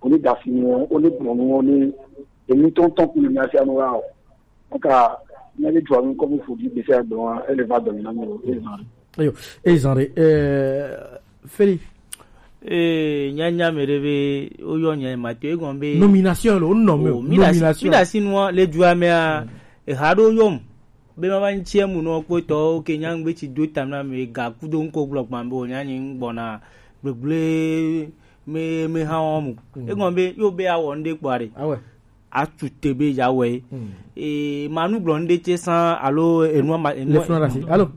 Onídàásí ni wọn, onígbọ̀n ni wọn ní èmi tó ń tán kúlù ní aṣáájú wa o. Wọn kà ní ẹni jù àwọn kọ́mí fòdì ìgbésẹ̀ ẹgbẹ́ wọn ẹ lè bá gbẹ̀mí náà mi ò lè máa rí. Eyo, ezan re eh, Feli. Ee, nyanya me ɖe be woyɔ nya ma to egɔn be nomination lo nɔ me o, mi da si, nomination. Mi da si nua le dua mea, eha ɖo yɔm. Be ma va ŋtsi emu nɔ kpɔtɔwo ke nya ŋgbe tsi do tam na me ga kudo ŋkɔ gblɔ gbã be wònya nyi ŋgbɔna gbegble me me hã wɔm o. Mm. Egɔn be yo be awɔ ŋɖe kpɔa ɖe. Awɛ. Atu te be ya wɛ. Mm. E manu gblɔ ŋɖe tse sã alo enua ma enua. Le funa ɖe asi. Alo.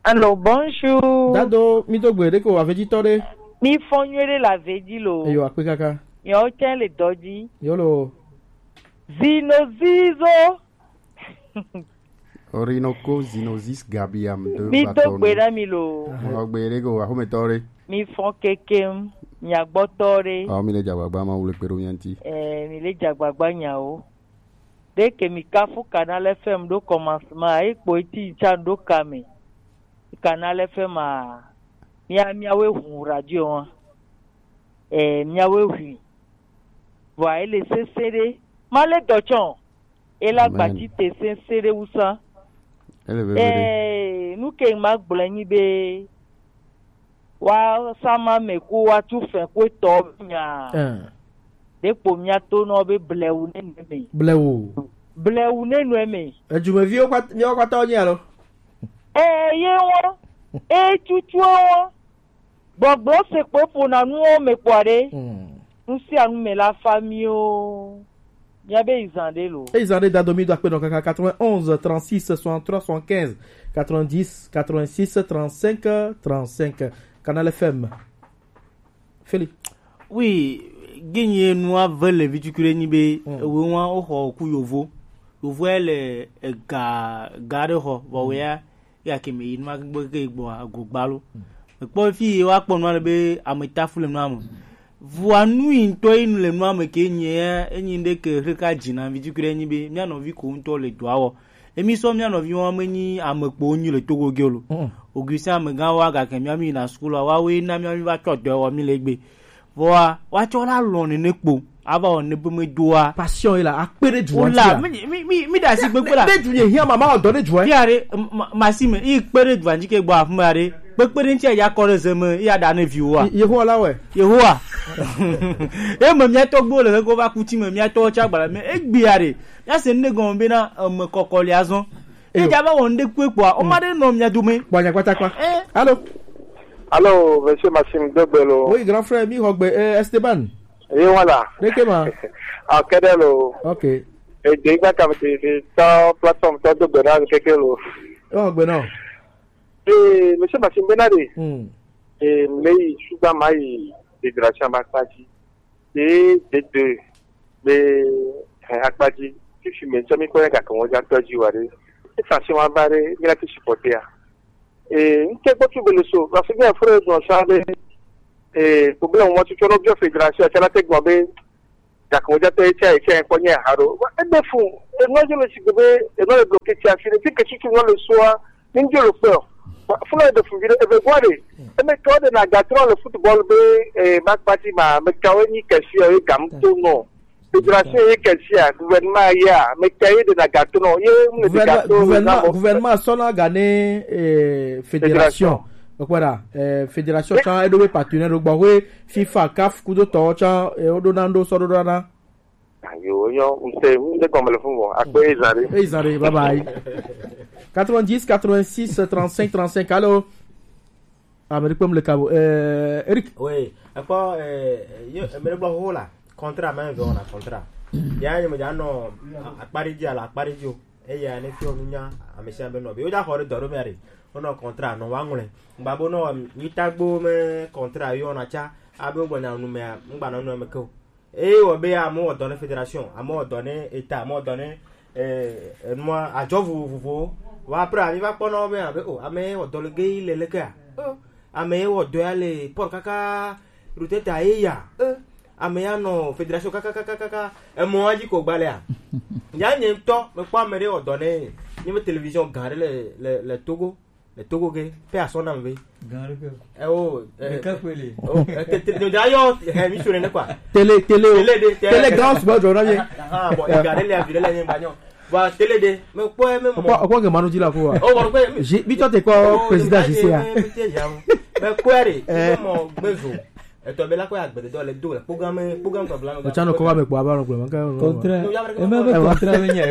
Alo, bonjour. Dado, mi do gbe ɖe ko aveji tɔ ɖe. Mi fɔ nyuie ɖe le aveji lo. Eyo akpe kaka. Miawo tsɛ le dɔ dzi. Yo lo. Zino zizo. Orinoco Zinosis Gabiam de Mi do gbe na mi lo. Mo gbe re go ahometɔ re. Mi fɔ kekem, miagbɔtɔ re. Awo mi le dzagbagba ma wule kpe ɖo mia ŋuti. Eh, mi le dzagbagba nyawo. Ɖe ke mi kafu Canal F M ɖo commencement, e kpo eti tsa ɖo kame. Canal F M a, mia miawe hu radio wa. Eh, miawe hui. Vɔa ele sese ɖe. Ma le dɔ tsɔ. Ela gbati te sese ɖe wusa. Ele veve ɖe. Eh, nu ke ma gblɔ nyi be wa sama me ko wa tu fɛ ko tɔ nya. Eh. Ɖekpo mia to nɔ be blewu ne nu me. Blewu. Blewu ne nu me. Edumeviwo kpata, miawo kpata wonye alo? Eh, ye wo. E tutu wo. Gbɔgblɔ se kpoe ƒona nuwo me kpɔa ɖe. Hmm. Nu sia nu me la fa miwo. Miabe izan ɖe lo. Izan ɖe dado mi do akpe nɔ kaka quatre-vingt-onze, trente-six, soixante-trois, soixante-quinze, quatre-vingt-dix, quatre-vingt-six, trente-cinq, trente-cinq. Canal F M. Feli. Oui, gini nua ve le vitukure nyi be, hmm, ewe wa o xɔ ku yovo. Yovo ya le ega ga ɖe xɔ, vɔ wea ya ke me yi nua gbe ke gbɔ ago gbalo. Ekpɔ fi ye wa kpɔ nua le be ame tafu le nua me. Vua nu yi ŋutɔ yi nu le nua me ke nye ya, enyi ɖe ke xeka dzi na vitukure nyi be mia nɔvi ko ŋutɔ le dɔa wɔ. Emi sɔ mia nɔvi wa me nyi ame kpo nyi le Togo ge lo. Mm. Augustin amegã wa gake mia mi na school wa we na mia mi va tsɔ dɔ wɔ mi le gbe. Vɔa, woatsɔ la lɔ̃ nene kpo. Ava wɔ ne be medoa. Passion ye la, akpe ɖe dua ŋuti la. Mi, mi, mi, mi ɖe asi kpekpe la. Ne du nye hiã mama wɔ dɔ ɖe dua. Fia ɖe, ma, ma si me, yi kpe ɖe dua ŋuti ke gbɔ afi ma ɖe. Kpekpe ɖe ŋuti ya kɔ ɖe ze me, ya ɖa ne viwoa. Ye-, Yehowa la wɛ. Yehowa. Ye me mia tɔgbuiwo le hego va kuti me, mia tɔwo tsa gbala me, egbea ɖe. Mia se ne gɔme be na, eme kɔkɔ le azɔ. Eyo. Edza va wɔ ŋɖe kpekpea, o ma ɖe nɔ mia dome. Kpɔ nyakpatakpa. Eh. Alo. Allô, monsieur Maxime Dogbelo. Oui, grand frère, mi hogbe, euh, Esteban. Et voilà. Nekema. Akedelo. Ok. Et des gars comme des, des temps, plateforme, temps de bonheur, quelqu'un lo. Oh, ben non. Et monsieur Maxime Benade. Hmm. Et mais, je suis dans ma fédération, ma partie. Et des deux. Mais, euh, akpati, si je me suis mis quoi, quand on a perdu, ouais. Et ça, c'est ma barre, il a pu supporter. Et, une telle chose, le saut. Parce que bien, frère, dans ça, et, problème, moi, tu as bien fédération, c'est la tech, moi, ben, quand on a perdu, c'est un poignet, alors. Et des fous. Et moi, je me suis dit, et moi, le bloqué, tu as fini, puis que tu tournes le soir, une dieu le peur. Faut le défouler, et ben, voilà. Et mais, toi, de Nagatron, le football, ben, et, ma partie, ma, mais, quand on y casse, et, gamme, tout, non. Fédération ye kɛsia, gouvernement ya, mais cahier de la gâteau non, ye mu de gouvernement gâteau gouvernement gouvernement sɔna gane eh, fédération. Fédération. Donc voilà, eh, fédération can edo be partenaire do gbɔ we fifa caf kudo tɔ can eh, odo na ndo sɔ do na. Ayo yo, on sait, on est comme le fond, à quoi ils arrivent. Hey zare, bye bye. Quatre-vingt-dix, quatre-vingt-six, trente-cinq, trente-cinq, allô. Ah, mais le kabo. Euh, Eric. Oui, encore, euh, yo, mais le blanc la, contrat, mais on a contrat. Ya, il me dit, ah non, à Paris, à la Paris, et il y a un effet, on a, à monsieur, ben non, mais il y a encore de dormir, on a contrat, non, on a, babo, non, il t'a beau, mais contrat, yo, on a tcha, ah, ben, on a, nous, mais, on a, nous, mais, Eye wɔ be amewo wɔ dɔ ne fédération, amewo wɔ dɔ ne état, amewo wɔ dɔ ne eh, enua adzɔ vovovowo. Wa après ami va kpɔ na wo be abe o ame ye wɔ dɔ le ge yi le lekea. Oh, ame ye wɔ dɔ ya le port kaka ruteta ye ya. Eh, ame ya nɔ fédération kaka kaka kaka emɔ wa dzi ko gbalea. Ya nye ŋutɔ mekpɔ ame ɖe wɔ dɔ ne nye be télévision gã ɖe le le le Togo. Le Togo ke, paix à son âme ve. Gã ɖe ke. Eh, oh, eh, ɖeka koe li. Oh, eh, te- te- te- d'ailleurs, eh, mi sure ne quoi. Télé, télé, oh. Télé de, télé. Télé grand sport, je reviens. Ah, bon, il y a les avis, les amis, bon. Bon, télé de, mais quoi, même. Pourquoi, pourquoi que Manu dit là, quoi? Oh, bon, quoi, mais- J'ai- Victor, t'es quoi, oh, président mais- J C A? Mais- mais- mais- mais quoi, eh, mon besoin. Et toi, ben là, quoi, avec des dollars, les dollars, programme, programme, quoi, blanc, Ocha no kowa me kwa ba no kwa. Contrat. Non, il y a vraiment contrat. Contrat, mais il y a.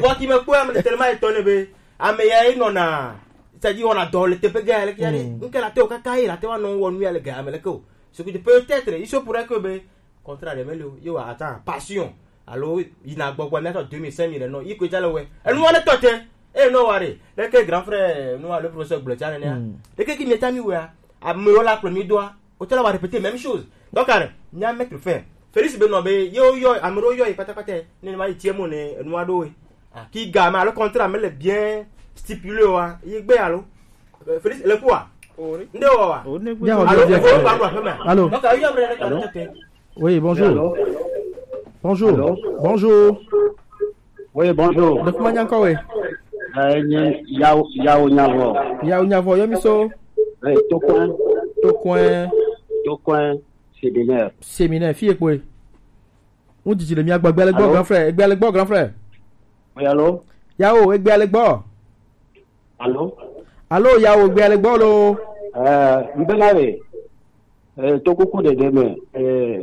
Moi qui me quoi, mais tellement étonné, be. Ame ya ye nɔna, c'est-à-dire on a dans le T P G, elle qui allait, donc elle a théo kaka, il a théo non, on lui a le gars, mais le co. Ce que peut-être, il se pourrait que, ben, contrat de Melo, yo, attends, passion. Alors, il n'a pas quoi mettre deux mille, cinq mille, non, il coûte le ouais. Elle nous, on est toté. Eh, non, allez, le que grand frère, nous, le professeur Blotchan, le que qui m'est ami, ouais, à me la premier doigt. Autant avoir répété même chose. Donc, allez, il y a un mec le fait. Félix Benoît, be yo yo, amero yo, patapata, ne ma itie mo ne, noa do. Ah, ki ga ma le contrat me le bien stipulé wa. Yi gbe alo. Euh, Félix, le quoi? Ori. Nde wa wa. Ori ne gbe. Bien, on Allô, vient bien. Allô, allô, allô. Allô. Donc, ayo amre le contrat. Oui, bonjour. Allô. Bonjour. Allô. Bonjour. Oui, bonjour. Donc, comment encore, oui? Euh, Yao, Yao Nyavo. Yao Nyavo, yo miso. Eh, Tocoin. Tocoin. Tocoin, séminaire. Séminaire, fille quoi? On dit le mien, grand frère, grand frère. Oui, allô? Yao, grand frère. Allô? Allô, Yao, bien le bolo. Euh, Mbenare, euh, Tokuku de Deme, euh,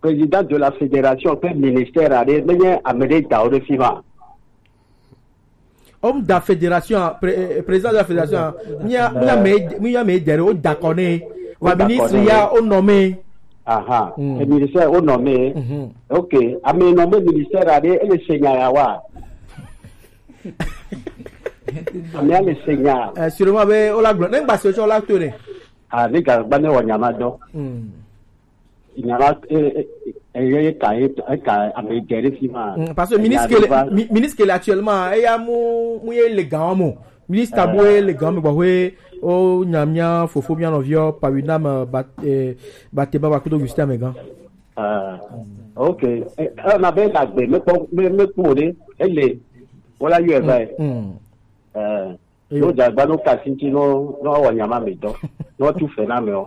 président de la fédération, fait ministère, allez, mais il y a Amédée Daoudé Fima. Homme de la fédération, pré- euh, président de la fédération, il y a, il y a mes, il y a mes derrière, au Daconé, va Au ministre, il y a Daconé. Au nommé. Aha, Mm. Le ministère au nommé. Mhm. Ok, à me nommer ministère, allez, et le Seigneur, à voir. Ame ame se nya. Eh, sûrement, be, o la gblɔ. Ne gba se tsɔ la to ne. Ah, ne ga gba ne wɔ nyama dɔ. Hmm. Nyama, eh, eh, eh, eh, ka, eh, eh, ka, ame dze ɖe fi ma. Hmm, parce que Enya ministre ke le, ɖe va. Mi-, ministre ke le actuellement, eya mu, mu ye le gan mo. Ministre Eh. Abo ye le gan mo, bɔ, we, o nya mia, fofo mia nɔviɔ, Pawinam, eh, Bat-, eh, Bateba, Bakudo, Gustin, Megan. Ah, ok. Eh, eh, na be na gbe, me kpɔ, me, me kpɔ ɖe, ele, wala yɔ ɛ va yi. Mm. Eh, Eyo. No dagba no kasi ŋuti no, no wɔ nyama me dɔ, no tu fe na me o.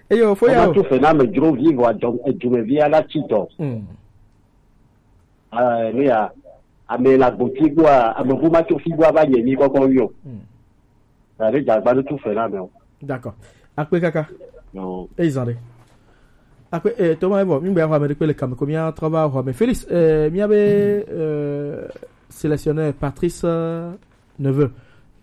Eyo, fo ya o. No tu fe na me dzro vi vɔ adzɔ, edumevi ala tsi dɔ. Mm. Eh, ne ya, ame la gboti gbɔa, ame bu ma tso fi gbɔa va nye mi kɔkɔ wi o. Mm. Ade dagba ɖo tu fe na me o. D'accord. Akpe kaka. Non. Eyi zan ɖe. Akpe, eh, toma evo, mi gbe ya xɔ ame ɖe kpe le kame ko mi trɔ va xɔ ame. Félix, eh, mi be, eh, sélectionneur Patrice, euh, Neveu.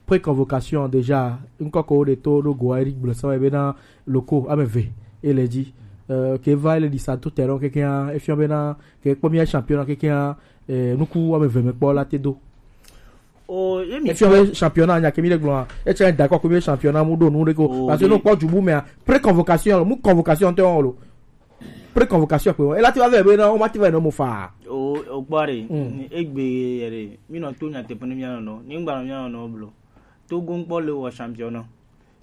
Pré-convocation déjà, ŋkɔ ko ɖe to ɖo go ayi gblɔ sɔ ebe na loko ame eve ele dzi. Euh, ke va ele ɖi sa to terrain kekeŋ, efiɔ bena ke kpɔ mía championnat kekeŋ, eh, nuku ame eve me kpɔ la te do. O ye mi Efiɔ be championnat nya ke mi ɖe gblɔ, etsɛ da kɔ ko mi championnat mu ɖo nu ɖe ko. Oh, Parce que oui. No kpɔ dzubu mea, pré-convocation, mu convocation te wɔn lo. Pré-convocation kpe wɔn. Ela ti va vɛ bena o ma ti va no mo fa. O o gbɔ ɖe Mm. Egbe yɛ ɖe mi nɔ to nyateƒe ne mía nɔnɔ ni ŋgba nɔ mía nɔnɔ blo. Togo ŋkpɔ le wɔ championnat.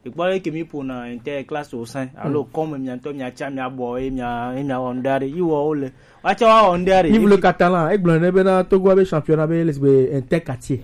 Ekpɔ ɖe ke mi ƒona inter classe au sein alo kɔme mia ŋutɔ mia tsa mia bɔ ye mia ye mia wɔ ŋɖa ɖe yi wɔ wo le. Wa tsa wa wɔ ŋɖa ɖe. Ni vle katalan, egblɔ ne bena Togo be championnat be les be inter quartier.